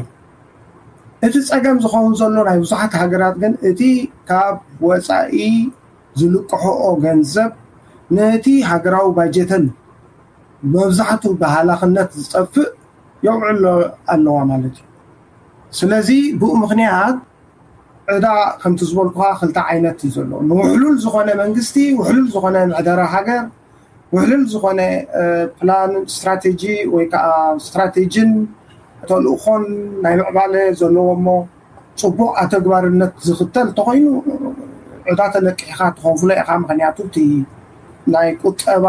እቲ ፀገም ዝኸውን ዘሎ ናይ ብዙሓት ሃገራት ግን እቲ ካብ ወፃኢ ዝልቅሕኦ ገንዘብ ነቲ ሃገራዊ ባጀተን መብዛሕቱ ብሃላኽነት ዝጠፍእ የውዕሎ ኣለዋ ማለት እዩ። ስለዚ ብኡ ምክንያት ዕዳ ከምቲ ዝበልኩኻ ክልተ ዓይነት እዩ ዘሎ። ንውሕሉል ዝኾነ መንግስቲ፣ ውሕሉል ዝኾነ ምሕደራ ሃገር፣ ውሕሉል ዝኾነ ፕላን ስትራቴጂ ወይ ከዓ ስትራቴጂን ተልእኾን ናይ ምዕባለ ዘለዎ እሞ ፅቡቅ ኣተግባርነት ዝኽተል እንተኮይኑ ዕዳ ተለቂሕካ ትኸፍሎ ኢኻ። ምክንያቱ እቲ ናይ ቁጠባ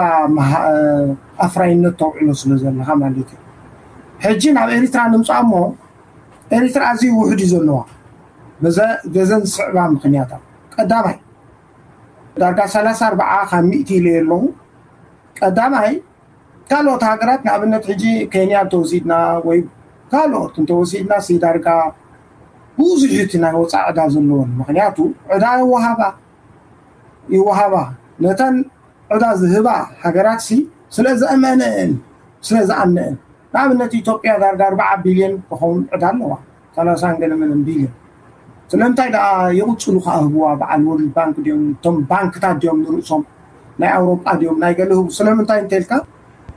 ኣፍራይነት ተውዕሎ ስለ ዘለካ ማለት እዩ። ሕጂ ናብ ኤሪትራ ንምፃእ እሞ ኤሪትራ ኣዝዩ ውሕድ እዩ ዘለዋ በዘን ዝስዕባ ምክንያታት። ቀዳማይ ዳርጋ ሰላሳ ኣርባዓ ካብ ሚእቲ ኢለ ኣለኹ። ቀዳማይ ካልኦት ሃገራት ንኣብነት ሕጂ ኬንያ እንተወሲድና ወይ ካልኦት እንተወሲድና ሲ ዳርጋ ብዙሕ እቲ ናይ ወፃኢ ዕዳ ዘለዎን ምክንያቱ ዕዳ ይወሃባ ይወሃባ ነተን ዕዳ ዝህባ ሃገራት ሲ ስለ ዘእመነእን ስለ ዝኣምነእን ንኣብነት ኢትዮጵያ ዳርጋ ኣርባዓ ቢልዮን ክኸውን ዕዳ ኣለዋ ሰላሳን ገለመለን ቢልዮን ስለምንታይ ደኣ ይቕፅሉ ከኣ ህብዋ በዓል ወርልድ ባንክ ድዮም እቶም ባንክታት ድዮም ንርእሶም ናይ ኣውሮጳ ድዮም ናይ ገለ ህቡ ስለምንታይ እንተልካ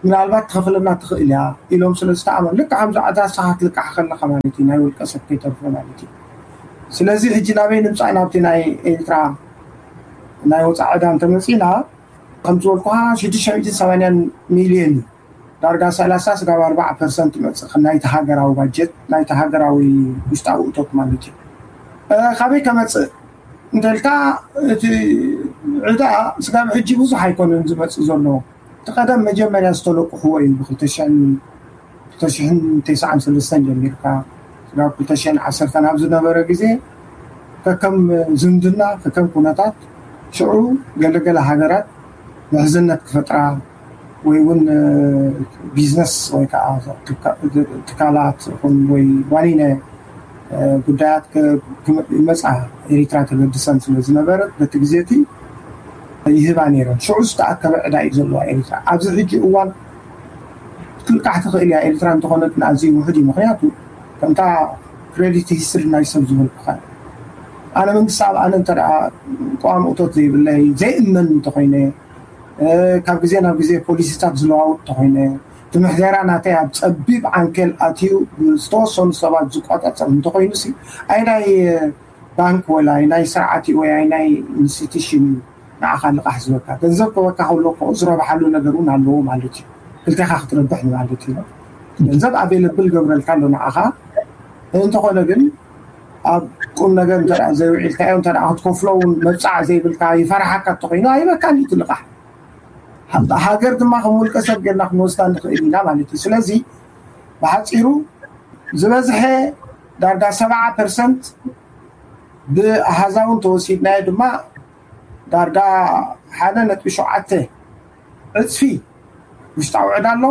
ምናልባት ትኸፍለና ትኽእል እያ ኢሎም ስለ ዝተኣመኑ ልክዕ ከምዚ ዕዳ ንስኻ ክትልቃሕ ከለኻ ማለት እዩ ናይ ውልቀ ሰብ ከይተርፎ ማለት እዩ ስለዚ ሕጂ ናበይ ንምፃእ ናብቲ ናይ ኤርትራ ናይ ወፃኢ ዕዳ እንተመፂና ከም ዝበልኩኻ ሽዱሽተ ሚእትን ሰማንያን ሚልዮን እዩ ዳርጋ ሰላሳ ስጋብ ኣርባዓ ፐርሰንት ይመፅእ ናይቲ ሃገራዊ ባጀት ናይቲ ሃገራዊ ውሽጣዊ እቶት ማለት እዩ ካበይ ከመፅእ እንተልካ እቲ ዕዳ ስጋብ ሕጂ ብዙሕ ኣይኮነን ዝመፅእ ዘሎ እቲ ቀደም መጀመርያ ዝተለቅሕዎ እዩ ብክልተ ሽሕን ተስዓን ሰለስተን ጀሚርካ ስጋብ ክልተ ሽሕን ዓሰርተን ኣብ ዝነበረ ግዜ ከከም ዝምድና ከከም ኩነታት ሽዑ ገለገለ ሃገራት ምሕዝነት ክፈጥራ ወይ እውን ቢዝነስ ወይ ከዓ ትካላት ይኹን ወይ ዋኒነ ጉዳያት ይመፃ ኤሪትራ ተገድሰን ስለ ዝነበረት በቲ ግዜ እቲ ይህባ ነይረን። ሽዑ ዝተኣከበ ዕዳ እዩ ዘለዋ ኤሪትራ። ኣብዚ ሕጂ እዋን ክትልቃሕ ትኽእል እያ ኤሪትራ እንተኾነት ኣዝዩ ውሑድ እዩ። ምክንያቱ ከምታ ክሬዲት ሂስትሪ ናይ ሰብ ዝበልኩኻ ኣነ መንግስቲ ኣብ ኣነ እንተ ቀዋሚ እቶት ዘይብለይ ዘይእመን እንተኮይነ ካብ ግዜ ናብ ግዜ ፖሊሲታት ዝለዋውጥ እንተኮይነ እቲ ምሕደራ ናተይ ኣብ ፀቢብ ዓንኬል ኣትዩ ዝተወሰኑ ሰባት ዝቆፃፀር እንተኮይኑ ሲ ኣይናይ ባንክ ወይ ኣይናይ ስርዓት እዩ ወይ ኣይናይ ኢንስቲትሽን እዩ ንዓኻ ልቓሕ ዝበካ ገንዘብ ክበካ ከሎ ከኡ ዝረብሓሉ ነገር እውን ኣለዎ ማለት እዩ። ክልቴኻ ክትረብሕ ማለት እዩ። ገንዘብ ኣቬለብል ገብረልካ ኣሎ ንዓኻ። እንተኾነ ግን ኣብ ቁም ነገር እንተ ዘይውዒልካዮ እንተ ክትከፍሎ እውን መብፃዕ ዘይብልካ ይፈርሓካ እንተኮይኑ ኣይበካን እዩ እቲ ልቓሕ። ሃገር ድማ ከም ውልቀ ሰብ ጌርና ክንወስዳ ንኽእል ኢና ማለት እዩ። ስለዚ ብሓፂሩ ዝበዝሐ ዳርጋ ሰብዓ ፐርሰንት ብኣሃዛዊ እንተወሲድናዮ ድማ ዳርጋ ሓደ ነጥቢ ሸውዓተ ዕፅፊ ውሽጣዊ ዕዳ ኣሎ።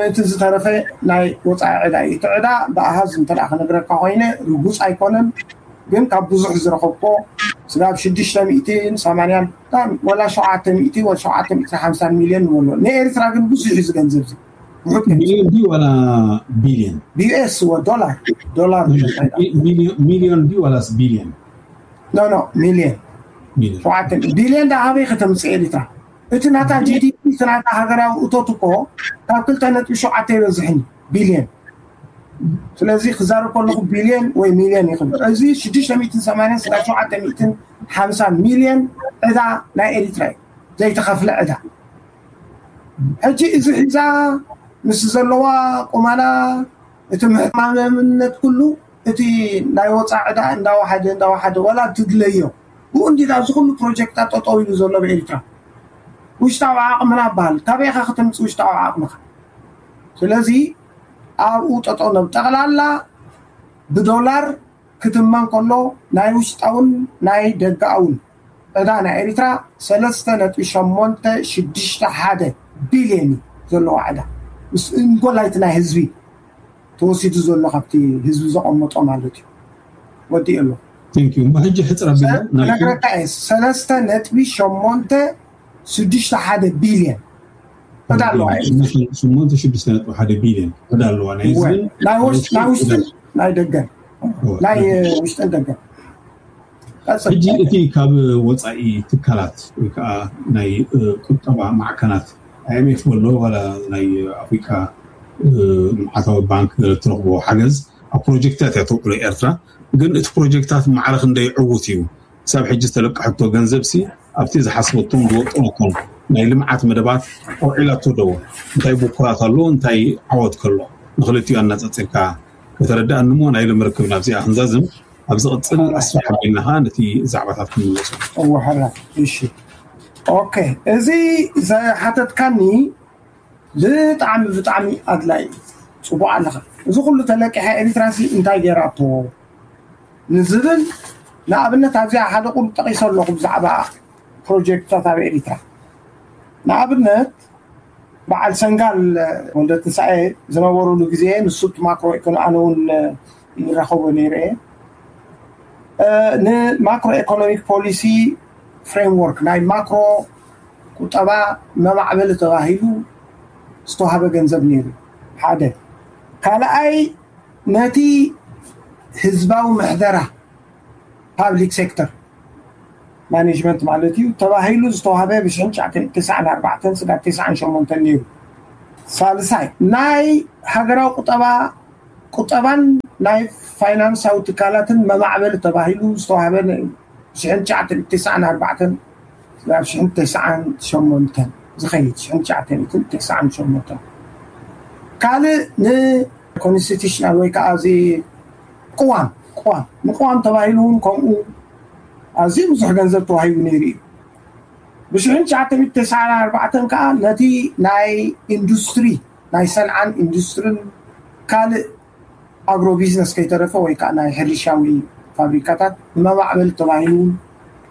እቲ ዝተረፈ ናይ ወፃኢ ዕዳ እዩ። እቲ ዕዳ ብኣሃዝ እንተ ክነግረካ ኮይነ ርጉፅ ኣይኮነን፣ ግን ካብ ብዙሕ ዝረኸብኮ ስጋብ ሽዱሽተ ሚእትን ሰማንያን ወላ ሸውዓተ ሚእቲ ወላ ሸውዓተ ሚእትን ሓምሳን ሚልዮን ንበሎ። ንኤርትራ ግን ብዙሕ እዩ ዝገንዘብ እዚ ውሑድ ገንዘብ። ሚልዮን ድዩ ዋላ ቢልዮን? ቢዩኤስ ወ ዶላር ዶላር ሚልዮን ድዩ ዋላስ ቢልዮን? ኖ ኖ ሚልዮን ሚልዮን ሸውዓተ ቢልዮን ዳ ኣበይ ከተምፅእ ኤሪትራ? እቲ ናታ ጂዲፒ እቲ ናታ ሃገራዊ እቶት እኮ ካብ ክልተ ነጥቢ ሸውዓተ ይበዝሕን ቢልዮን። ስለዚ ክዛረብ ከለኹ ቢልዮን ወይ ሚልዮን ይኽብል። እዚ ሽዱሽተ ሚእትን ሰማንያን ስጋ ሸውዓተ ሚእትን ሓምሳ ሚልዮን ዕዳ ናይ ኤሪትራ እዩ ዘይተኸፍለ ዕዳ። ሕጂ እዚ ሒዛ ምስ ዘለዋ ቁመና እቲ ምሕማምነት ኩሉ እቲ ናይ ወፃ ዕዳ እንዳወሓደ እንዳወሓደ ዋላ ትድለዮ ብኡ እንዲ ኣብዚ ኩሉ ፕሮጀክታት ጠጠው ኢሉ ዘሎ ብኤሪትራ ውሽጣዊ ዓቕምና በሃል ካበይኻ ክትምፅ ውሽጣዊ ዓቕምኻ? ስለዚ ኣብኡ ጠጠው ነብ ጠቕላላ ብዶላር ክትመን ከሎ ናይ ውሽጣውን ናይ ደጋኣውን ዕዳ ናይ ኤሪትራ ሰለስተ ነጥቢ ሸሞንተ ሽዱሽተ ሓደ ቢልዮን እዩ ዘለዋ ዕዳ ምስ እንጎላይቲ ናይ ህዝቢ ተወሲዱ ዘሎ ካብቲ ህዝቢ ዘቐመጦ ማለት እዩ። ወዲእ ኣሎ ሕጂ ሕፅር ኣቢልና ነግረካ እየ ሰለስተ ነጥቢ ሸሞንተ ሽዱሽተ ሓደ ቢልዮን ዕዳ ኣለዋ። ሸሞንተ ሽዱሽተ ነጥቢ ሓደ ቢልዮን ዕዳ ኣለዋ ናይ ህዝብን ናይ ውሽጥን ናይ ደገን ናይ ውሽጥን ደገን። ሕጂ እቲ ካብ ወፃኢ ትካላት ወይ ከዓ ናይ ቁጠባ ማዕከናት ኣይኤምኤፍ በሎ ዋላ ናይ ኣፍሪካ ልምዓታዊ ባንክ ገለ እትረኽቦ ሓገዝ ኣብ ፕሮጀክትታት እያ ተውዕሎ ኤርትራ። ግን እቲ ፕሮጀክትታት ማዕረ ክንደይ ዕዉት እዩ? ክሳብ ሕጂ ዝተለቀሐቶ ገንዘብ ሲ ኣብቲ ዝሓስበቶን ዝወጠነቶን ናይ ልምዓት መደባት ኣውዒላቶ ዶ? እንታይ ብኩራት ኣሎ እንታይ ዓወት ከሎ ንክልቲኡ ኣነፃፂርካ ከተረድኣኒ እሞ ናይ ሎሚ ርክብ ናብዚኣ ክንዛዝም ኣብ ዝቕፅል ኣስፍሕ ኣቢልና ከዓ ነቲ ዛዕባታት ክንምለሶ። እወ ሕራይ እሺ ኦኬ እዚ ዝሓተትካኒ ብጣዕሚ ብጣዕሚ ኣድላይ ፅቡቅ ኣለካ። እዚ ኩሉ ተለቂሐ ኤሪትራሲ እንታይ ገይራቶ ንዝብል ንኣብነት ኣብዚኣ ሓደ ቁሩብ ጠቂሰ ኣለኹ ብዛዕባ ፕሮጀክትታት ኣብ ኤሪትራ ንኣብነት በዓል ሰንጋል ወልደትንሳኤ ዝነበሩሉ ግዜ ንሱ እቲ ማክሮ ኢኮኖሚ ኣነ እውን ይራኸቦ ነይረ እየ ንማክሮ ኢኮኖሚክ ፖሊሲ ፍሬምወርክ ናይ ማክሮ ቁጠባ መማዕበሊ ተባሂሉ ዝተዋሃበ ገንዘብ ነይሩ ሓደ ካልኣይ ነቲ ህዝባዊ ምሕደራ ፓብሊክ ሴክተር ማኔጅመንት ማለት እዩ ተባሂሉ ዝተዋሃበ ብሽሕን ትሽዓተን ተስዓን ኣርባዕተን ስጋብ ተስዓን ሸሞንተን ነይሩ። ሳልሳይ ናይ ሃገራዊ ቁጠባ ቁጠባን ናይ ፋይናንሳዊ ትካላትን መማዕበሊ ተባሂሉ ዝተዋሃበ ብሽሕን ትሽዓተን ተስዓን ኣርባዕተን ናብ ሽሕን ተስዓን ሸሞንተን ዝኸይድ ሽሕን ትሽዓተን ተስዓን ሸሞንተን ካልእ ንኮንስቲቱሽናል ወይ ከዓ እዚ ቅዋም ቅዋም ንቅዋም ተባሂሉ እውን ከምኡ ኣዝዩ ብዙሕ ገንዘብ ተዋሂቡ ነይሩ እዩ። ብሽሕን ትሽዓተ ሚእቲ ተስዓን ኣርባዕተን ከዓ ነቲ ናይ ኢንዱስትሪ ናይ ሰንዓን ኢንዱስትርን ካልእ ኣግሮ ቢዝነስ ከይተረፈ ወይ ከዓ ናይ ሕርሻዊ ፋብሪካታት ንመማዕበሊ ተባሂሉ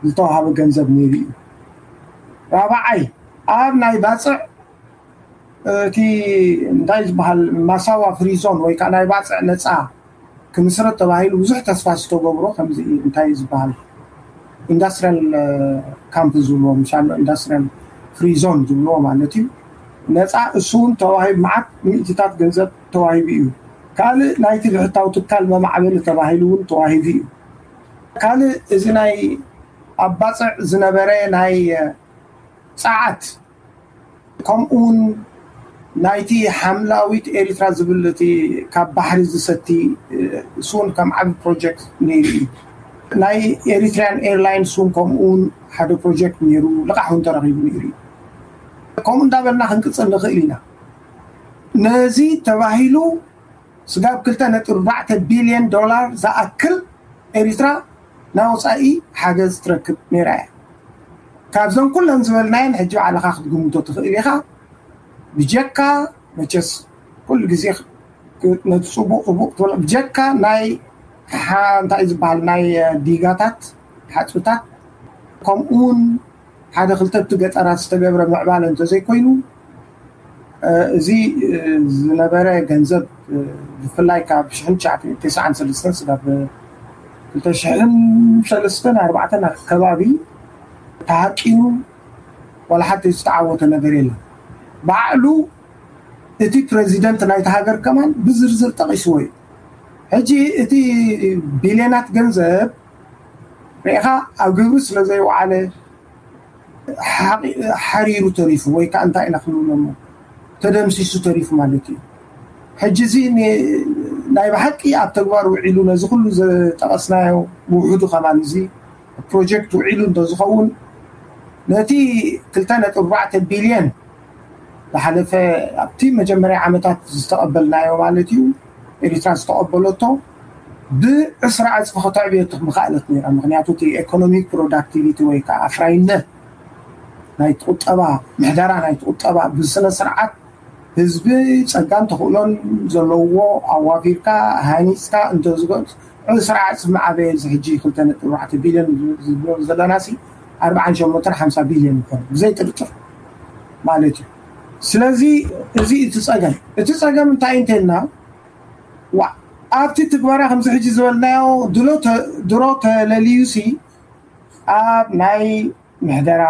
ዝተዋሃበ ገንዘብ ነይሩ እዩ። ራብዓይ፣ ኣብ ናይ ባፅዕ እቲ እንታይ ዝበሃል ማሳዋ ፍሪዞን ወይ ከዓ ናይ ባፅዕ ነፃ ክምስረት ተባሂሉ ብዙሕ ተስፋ ዝተገብሮ ከምዚ እንታይ ዝበሃል ኢንዳስትሪያል ካምፕ ዝብልዎ ምሻሎ ኢንዳስትሪያል ፍሪዞን ዝብልዎ ማለት እዩ። ነፃ እሱ እውን ተዋሂብ መዓት ሚእትታት ገንዘብ ተዋሂቡ እዩ። ካልእ ናይቲ ብሕታዊ ትካል መማዕበሊ ተባሂሉ እውን ተዋሂቡ እዩ። ካልእ እዚ ናይ ኣብ ባፅዕ ዝነበረ ናይ ፀዓት ከምኡውን ናይቲ ሓምላዊት ኤሪትራ ዝብል እቲ ካብ ባሕሪ ዝሰቲ እሱን ከም ዓቢ ፕሮጀክት ነይሩ እዩ። ናይ ኤሪትሪያን ኤርላይንስ እውን ከምኡውን ሓደ ፕሮጀክት ነይሩ፣ ልቓሕ እውን ተረኺቡ ነይሩ እዩ። ከምኡ እንዳበልና ክንቅፅል ንኽእል ኢና። ነዚ ተባሂሉ ስጋብ ክልተ ነጥቢ ኣርባዕተ ቢልዮን ዶላር ዝኣክል ኤሪትራ ናይ ወፃኢ ሓገዝ ትረክብ ነይራ እያ። ካብዘን ኩለን ዝበልናየን ሕጂ ባዕልኻ ክትግምቶ ትኽእል ኢኻ። ብጀካ መቸስ ኩሉ ግዜ ነቲ ፅቡቅ ፅቡቅ ክትበሎ ብጀካ ናይ እንታይ ዝበሃል ናይ ዲጋታት ሓፁታት ከምኡውን ሓደ ክልተ እቲ ገጠራት ዝተገብረ ምዕባለ እንተዘይኮይኑ እዚ ዝነበረ ገንዘብ ብፍላይ ካብ ሽሕን ትሽዓተ ሚእትን ተስዓን ሰለስተን ስጋብ ክልተ ሽሕን ሰለስተን ኣርባዕተን ኣከባቢ ተሃቂኑ ዋላ ሓንቲ ዝተዓወተ ነገር የለን። ባዕሉ እቲ ፕረዚደንት ናይቲ ሃገር ከማን ብዝርዝር ጠቒስዎ እዩ። ሕጂ እቲ ቢልዮናት ገንዘብ ርኢኻ ኣብ ግብሪ ስለ ዘይወዓለ ሓሪሩ ተሪፉ ወይ ከዓ እንታይ ኢና ክንብሎ እሞ ተደምሲሱ ተሪፉ ማለት እዩ። ሕጂ እዚ ናይ ብሓቂ ኣብ ተግባር ውዒሉ ነዚ ኩሉ ዝጠቐስናዮ ውሕዱ ከማን እዚ ፕሮጀክት ውዒሉ እንተዝኸውን ነቲ ክልተ ነጥቢ ኣርባዕተ ቢልዮን ዝሓለፈ ኣብቲ መጀመርያ ዓመታት ዝተቐበልናዮ ማለት እዩ ኤሪትራ ዝተቐበለቶ ብዕስራ ዕፅፊ ከተዕብዮ ምኻእለት ነይራ። ምክንያቱ እቲ ኤኮኖሚክ ፕሮዳክቲቪቲ ወይ ከዓ ኣፍራይነት ናይ ቁጠባ ምሕደራ ናይ ቁጠባ ብስነ ስርዓት ህዝቢ ጸጋን ተኽእሎን ዘለውዎ ኣዋፊርካ ሃኒጽካ እንተዝገ ዕስራ ዕፅፊ ምዓበየ እዚ ሕጂ ክልተ ነጥቢ ኣርባዕተ ቢልዮን ዝብሎ ዘለና ሲ ኣርብዓን ሸሞንተን ሓምሳ ቢልዮን ይኾን ብዘይ ጥርጥር ማለት እዩ። ስለዚ እዚ እቲ ጸገም እቲ ጸገም እንታይ እንተልና ኣብቲ ትግበራ ከምዚ ሕጂ ዝበልናዮ ድሮ ተለልዩ ሲ ኣብ ናይ ምሕደራ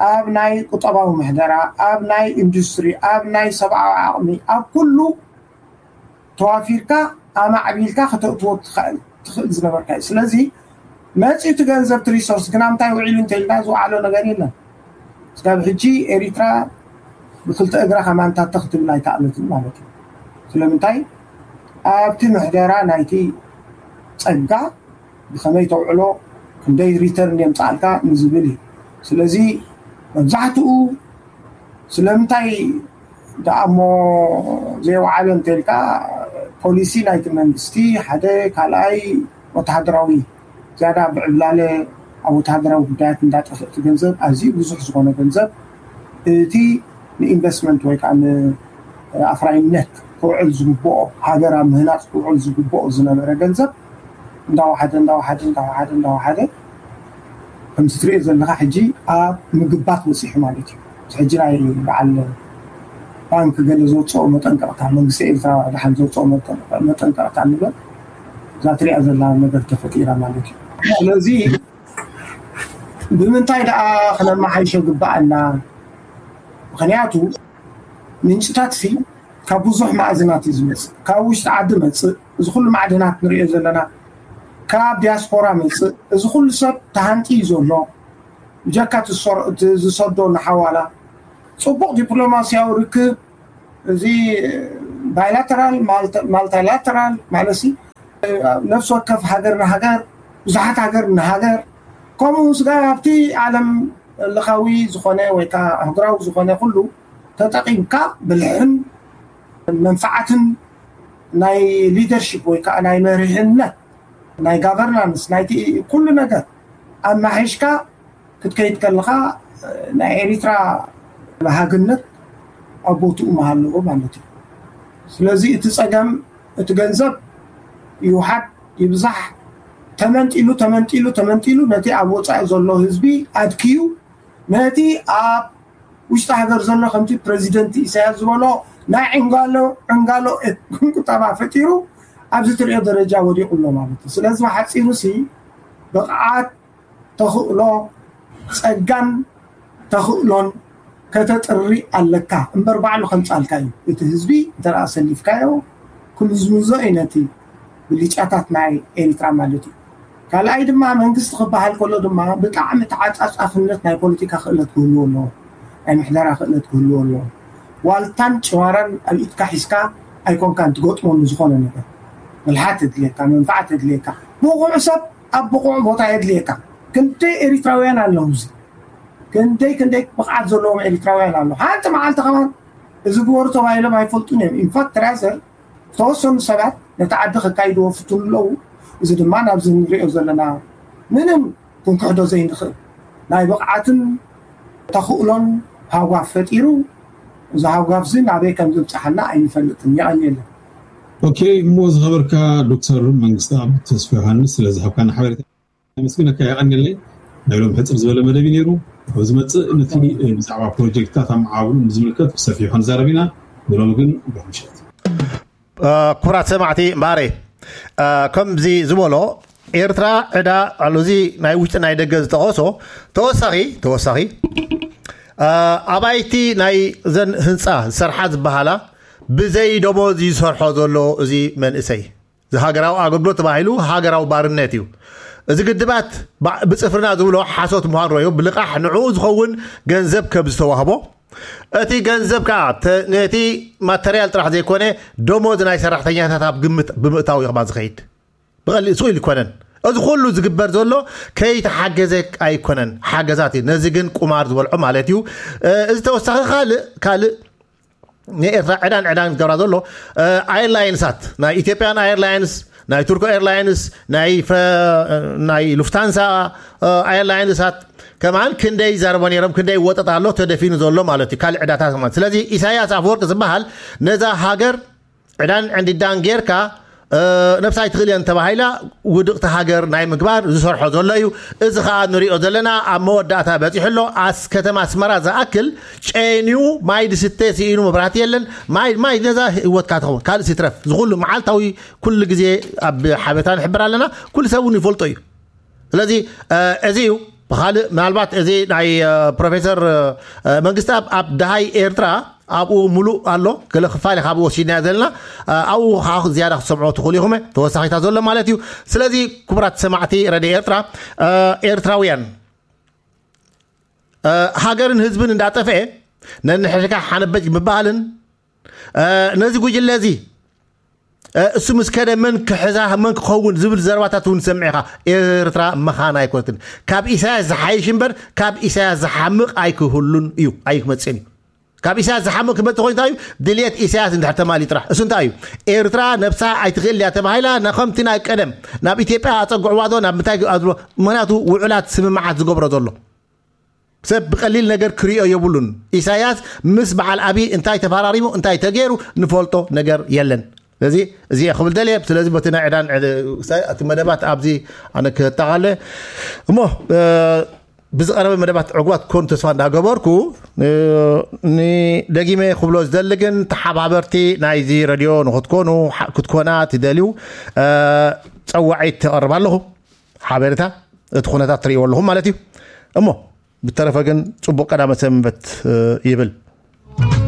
ኣብ ናይ ቁጠባዊ ምሕደራ ኣብ ናይ ኢንዱስትሪ ኣብ ናይ ሰብኣዊ ዓቕሚ ኣብ ኩሉ ተዋፊርካ ኣማዕቢልካ ከተእትዎ ትኽእል ዝነበርካ እዩ። ስለዚ መፂኡ እቲ ገንዘብ እቲ ሪሶርስ ግና ምንታይ ውዒሉ እንተኢልና ዝወዓሎ ነገር የለን። ስጋብ ሕጂ ኤሪትራ ብክልተ እግራ ከማንታተ ክትብል ኣይከኣለትን ማለት እዩ። ስለምንታይ ኣብቲ ምሕደራ ናይቲ ፀጋ ብኸመይ ተውዕሎ ክንደይ ሪተርን የምፃኣልካ ንዝብል እዩ። ስለዚ መብዛሕትኡ ስለምንታይ ደኣ እሞ ዘይወዓለ እንተልካ ፖሊሲ ናይቲ መንግስቲ ሓደ ካልኣይ ወተሃደራዊ ዝያዳ ብዕብላለ ኣብ ወተሃደራዊ ጉዳያት እንዳጠፍእ እቲ ገንዘብ ኣዝዩ ብዙሕ ዝኾነ ገንዘብ እቲ ንኢንቨስትመንት ወይ ከዓ ንኣፍራይነት ክውዕል ዝግብኦ ሃገር ኣብ ምህናፅ ክውዕል ዝግብኦ ዝነበረ ገንዘብ እንዳወሓደ እንዳወሓደ እንዳወሓደ እንዳወሓደ ከምዚ ትሪኦ ዘለካ ሕጂ ኣብ ምግባት በፂሑ ማለት እዩ። ሕጂ ናይ በዓል ባንክ ገለ ዘውፅኦ መጠንቀቕታ መንግስቲ ኤርትራ ደሓን ዘውፅኦ መጠንቀቕታ ንበል እዛ ትሪኣ ዘላ ነገር ተፈጢራ ማለት እዩ። ስለዚ ብምንታይ ደኣ ክነመሓይሾ ግባኣና? ምክንያቱ ምንጭታት ሲ ካብ ብዙሕ ማዕድናት እዩ ዝመፅእ። ካብ ውሽጢ ዓዲ መፅእ፣ እዚ ኩሉ ማዕድናት ንሪኦ ዘለና ካብ ዲያስፖራ መፅእ። እዚ ኩሉ ሰብ ተሃንጢ እዩ ዘሎ። ብጀካ ዝሰዶ ንሓዋላ ፅቡቕ ዲፕሎማስያዊ ርክብ እዚ ባይላተራል ማልታይላተራል ማለት ነፍሲ ወከፍ ሃገር ንሃገር ብዙሓት ሃገር ንሃገር ከምኡ ስጋ ኣብቲ ዓለም ለኻዊ ዝኾነ ወይ ከዓ ኣህጉራዊ ዝኾነ ኩሉ ተጠቒምካ ብልሕን መንፋዓትን ናይ ሊደርሽፕ ወይ ከዓ ናይ መሪሕነት ናይ ጋቨርናንስ ናይቲ ኩሉ ነገር ኣማሒሽካ ክትከይድ ከለኻ ናይ ኤሪትራ መሃግነት ኣብ ቦትኡ መሃለዎ ማለት እዩ። ስለዚ እቲ ፀገም እቲ ገንዘብ ይውሓድ ይብዛሕ ተመንጢሉ ተመንጢሉ ተመንጢሉ ነቲ ኣብ ወፃኢ ዘሎ ህዝቢ ኣድክዩ፣ ነቲ ኣብ ውሽጢ ሃገር ዘሎ ከምቲ ፕረዚደንት ኢሳያስ ዝበሎ ናይ ዕንጋሎ ዕንጋሎ ቁጠባ ፈጢሩ ኣብዚ ትሪኦ ደረጃ ወዲቑ ኣሎ ማለት እዩ። ስለዚ ብሓፂሩ ሲ ብቕዓት፣ ተኽእሎ፣ ፀጋን ተኽእሎን ከተጥሪ ኣለካ እምበር ባዕሉ ከምፃልካ እዩ። እቲ ህዝቢ እንተ ደኣ ሰሊፍካዮ ክምዝምዞ እዩ ነቲ ብልጫታት ናይ ኤሪትራ ማለት እዩ። ካልኣይ ድማ መንግስቲ ክበሃል ከሎ ድማ ብጣዕሚ ተዓፃፃፍነት ናይ ፖለቲካ ክእለት ክህልዎ ኣለዎ፣ ናይ ምሕደራ ክእለት ክህልዎ ኣለዎ። ዋልታን ጭዋራን ኣብ ኢድካ ሒዝካ ኣይኮንካን ትገጥሞ ንዝኾነ ነገር። ብልሓት የድልየካ፣ መንፋዓት የድልየካ፣ ብቑዕ ሰብ ኣብ ብቑዕ ቦታ የድልየካ። ክንደይ ኤሪትራውያን ኣለዉ እዚ ክንደይ ክንደይ ብቕዓት ዘለዎም ኤሪትራውያን ኣለዉ። ሓንቲ መዓልቲ ከማን እዚ ግበሩ ተባሂሎም ኣይፈልጡን እዮም። ኢንፋክት ራዘር ዝተወሰኑ ሰባት ነቲ ዓዲ ከካይድዎ ፍትኑ ኣለዉ። እዚ ድማ ናብዚ ንሪኦ ዘለና ምንም ክንክሕዶ ዘይንኽእል ናይ ብቕዓትን ተኽእሎን ሃጓፍ ፈጢሩ፣ እዚ ሃጓፍ እዚ ናበይ ከም ዝብፅሓና ኣይንፈልጥን። የቐንየለን። ኦኬ፣ እሞ ዝኸበርካ ዶክተር መንግስቲ ኣብ ተስፋ ዮሃንስ ስለዝሃብካና ሓበሬታ ኣመስግነካ፣ የቐንየለይ። ናይ ሎም ሕፅር ዝበለ መደብ እዩ ነይሩ። ኣብ ዝመፅእ ነቲ ብዛዕባ ፕሮጀክትታት ኣመዓብሉ ንዝምልከት ብሰፊሑ ክንዛረብ ኢና። ንሎም ግን ብሩኽ ምሸት። ክቡራት ሰማዕቲ እምበኣረይ ከምዚ ዝበሎ ኤርትራ ዕዳ ኣሎ። እዚ ናይ ውሽጢ ናይ ደገ ዝጠቐሶ ተወሳኺ ተወሳኺ ኣባይቲ ናይ ዘን ህንፃ ዝሰርሓ ዝበሃላ ብዘይ ደሞዝ ዝሰርሖ ዘሎ እዚ መንእሰይ ዝሃገራዊ ኣገልግሎት ተባሂሉ ሃገራዊ ባርነት እዩ። እዚ ግድባት ብፅፍርና ዝብሎ ሓሶት ምዃን ረዮ ብልቓሕ ንዕኡ ዝኸውን ገንዘብ ከም ዝተዋህቦ እቲ ገንዘብ ከዓ ነቲ ማተርያል ጥራሕ ዘይኮነ ደሞዝ ናይ ሰራሕተኛታት ኣብ ግምት ብምእታው እዩ ከማ ዝኸይድ። ብቐሊል ስቕ ኢሉ ይኮነን። እዚ ኩሉ ዝግበር ዘሎ ከይተሓገዘ ኣይኮነን፣ ሓገዛት እዩ። ነዚ ግን ቁማር ዝበልዖ ማለት እዩ። እዚ ተወሳኺ ካልእ ካልእ ንኤርትራ ዕዳን ዕዳን ዝገብራ ዘሎ ኤርላይንሳት ናይ ኢትዮጵያን ኤርላይንስ ናይ ቱርኮ ኤርላይንስ ናይ ናይ ሉፍታንሳ ኤርላይንሳት ከማን ክንደይ ይዛረቦ ነይሮም፣ ክንደይ ይወጠጥ ኣሎ ተደፊኑ ዘሎ ማለት እዩ። ካልእ ዕዳታት ማለት ስለዚ ኢሳያስ ኣፈወርቂ ዝበሃል ነዛ ሃገር ዕዳን ዕንዲዳን ጌርካ ነብሳ ኣይትኽእል እየን ተባሂላ ውድቕቲ ሃገር ናይ ምግባር ዝሰርሖ ዘሎ እዩ። እዚ ከዓ ንሪኦ ዘለና ኣብ መወዳእታ በፂሑ ኣሎ። ኣስ ከተማ ኣስመራ ዝኣክል ጨንዩ ማይ ድስተ ስኢኑ መብራህቲ የለን። ማይ ማይ ነዛ ህይወትካ ትኸውን ካልእ ሲትረፍ ዝኩሉ መዓልታዊ ኩሉ ግዜ ኣብ ሓበታ ንሕብር ኣለና። ኩሉ ሰብ እውን ይፈልጦ እዩ። ስለዚ እዚ እዩ ብካልእ ምናልባት እዚ ናይ ፕሮፌሰር መንግስቲ ኣብ ደሃይ ኤርትራ ኣብኡ ሙሉእ ኣሎ። ገለ ክፋል ካብ ወሲድና ዘለና ኣብኡ ከዓ ዝያዳ ክትሰምዖ ትኽእሉ ኢኹም ተወሳኺታ ዘሎ ማለት እዩ። ስለዚ ክቡራት ሰማዕቲ ረድዮ ኤርትራ ኤርትራውያን ሃገርን ህዝብን እንዳጠፍአ ነንሕድካ ሓነበጅ ምባልን ነዚ ጉጅለ እዚ እሱ ምስ ከደ መን ክሕዛ መን ክኸውን ዝብል ዘረባታት እውን ሰምዕኻ። ኤርትራ መኻን ኣይኮነትን። ካብ ኢሳያስ ዝሓይሽ እምበር ካብ ኢሳያስ ዝሓምቕ ኣይክህሉን እዩ፣ ኣይክመፅእን እዩ። ካብ ኢሳያስ ዝሓምቕ ክመፅእ ኮይኑ እንታይ እዩ? ድልየት ኢሳያስ እንድሕር ተማሊ ጥራሕ። እሱ እንታይ እዩ? ኤርትራ ነብሳ ኣይትኽእል እያ ተባሂላ ና ከምቲ ናይ ቀደም ናብ ኢትዮጵያ ኣፀግዕዋ ዶ ናብ ምንታይ ኣዝሎ? ምክንያቱ ውዕላት ስምምዓት ዝገብሮ ዘሎ ሰብ ብቀሊል ነገር ክሪኦ የብሉን። ኢሳያስ ምስ በዓል ኣብይ እንታይ ተፈራሪሙ እንታይ ተገይሩ ንፈልጦ ነገር የለን። ስለዚ እዚ ክብል ደልየ። ስለዚ በቲ ናይ ዕዳን እቲ መደባት ኣብዚ ኣነ ክጠቃለ እሞ ብዝቀረበ መደባት ዕጉባት ክኮኑ ተስፋ እንዳገበርኩ ንደጊመ ክብሎ ዝደሊ ግን ተሓባበርቲ ናይዚ ረድዮ ንክትኮኑ ክትኮና ትደልዩ ፀዋዒት ተቀርብ ኣለኹ። ሓበሬታ እቲ ኩነታት ትርእይዎ ኣለኹም ማለት እዩ። እሞ ብተረፈ ግን ጽቡቕ ቀዳመ ሰንበት ይብል።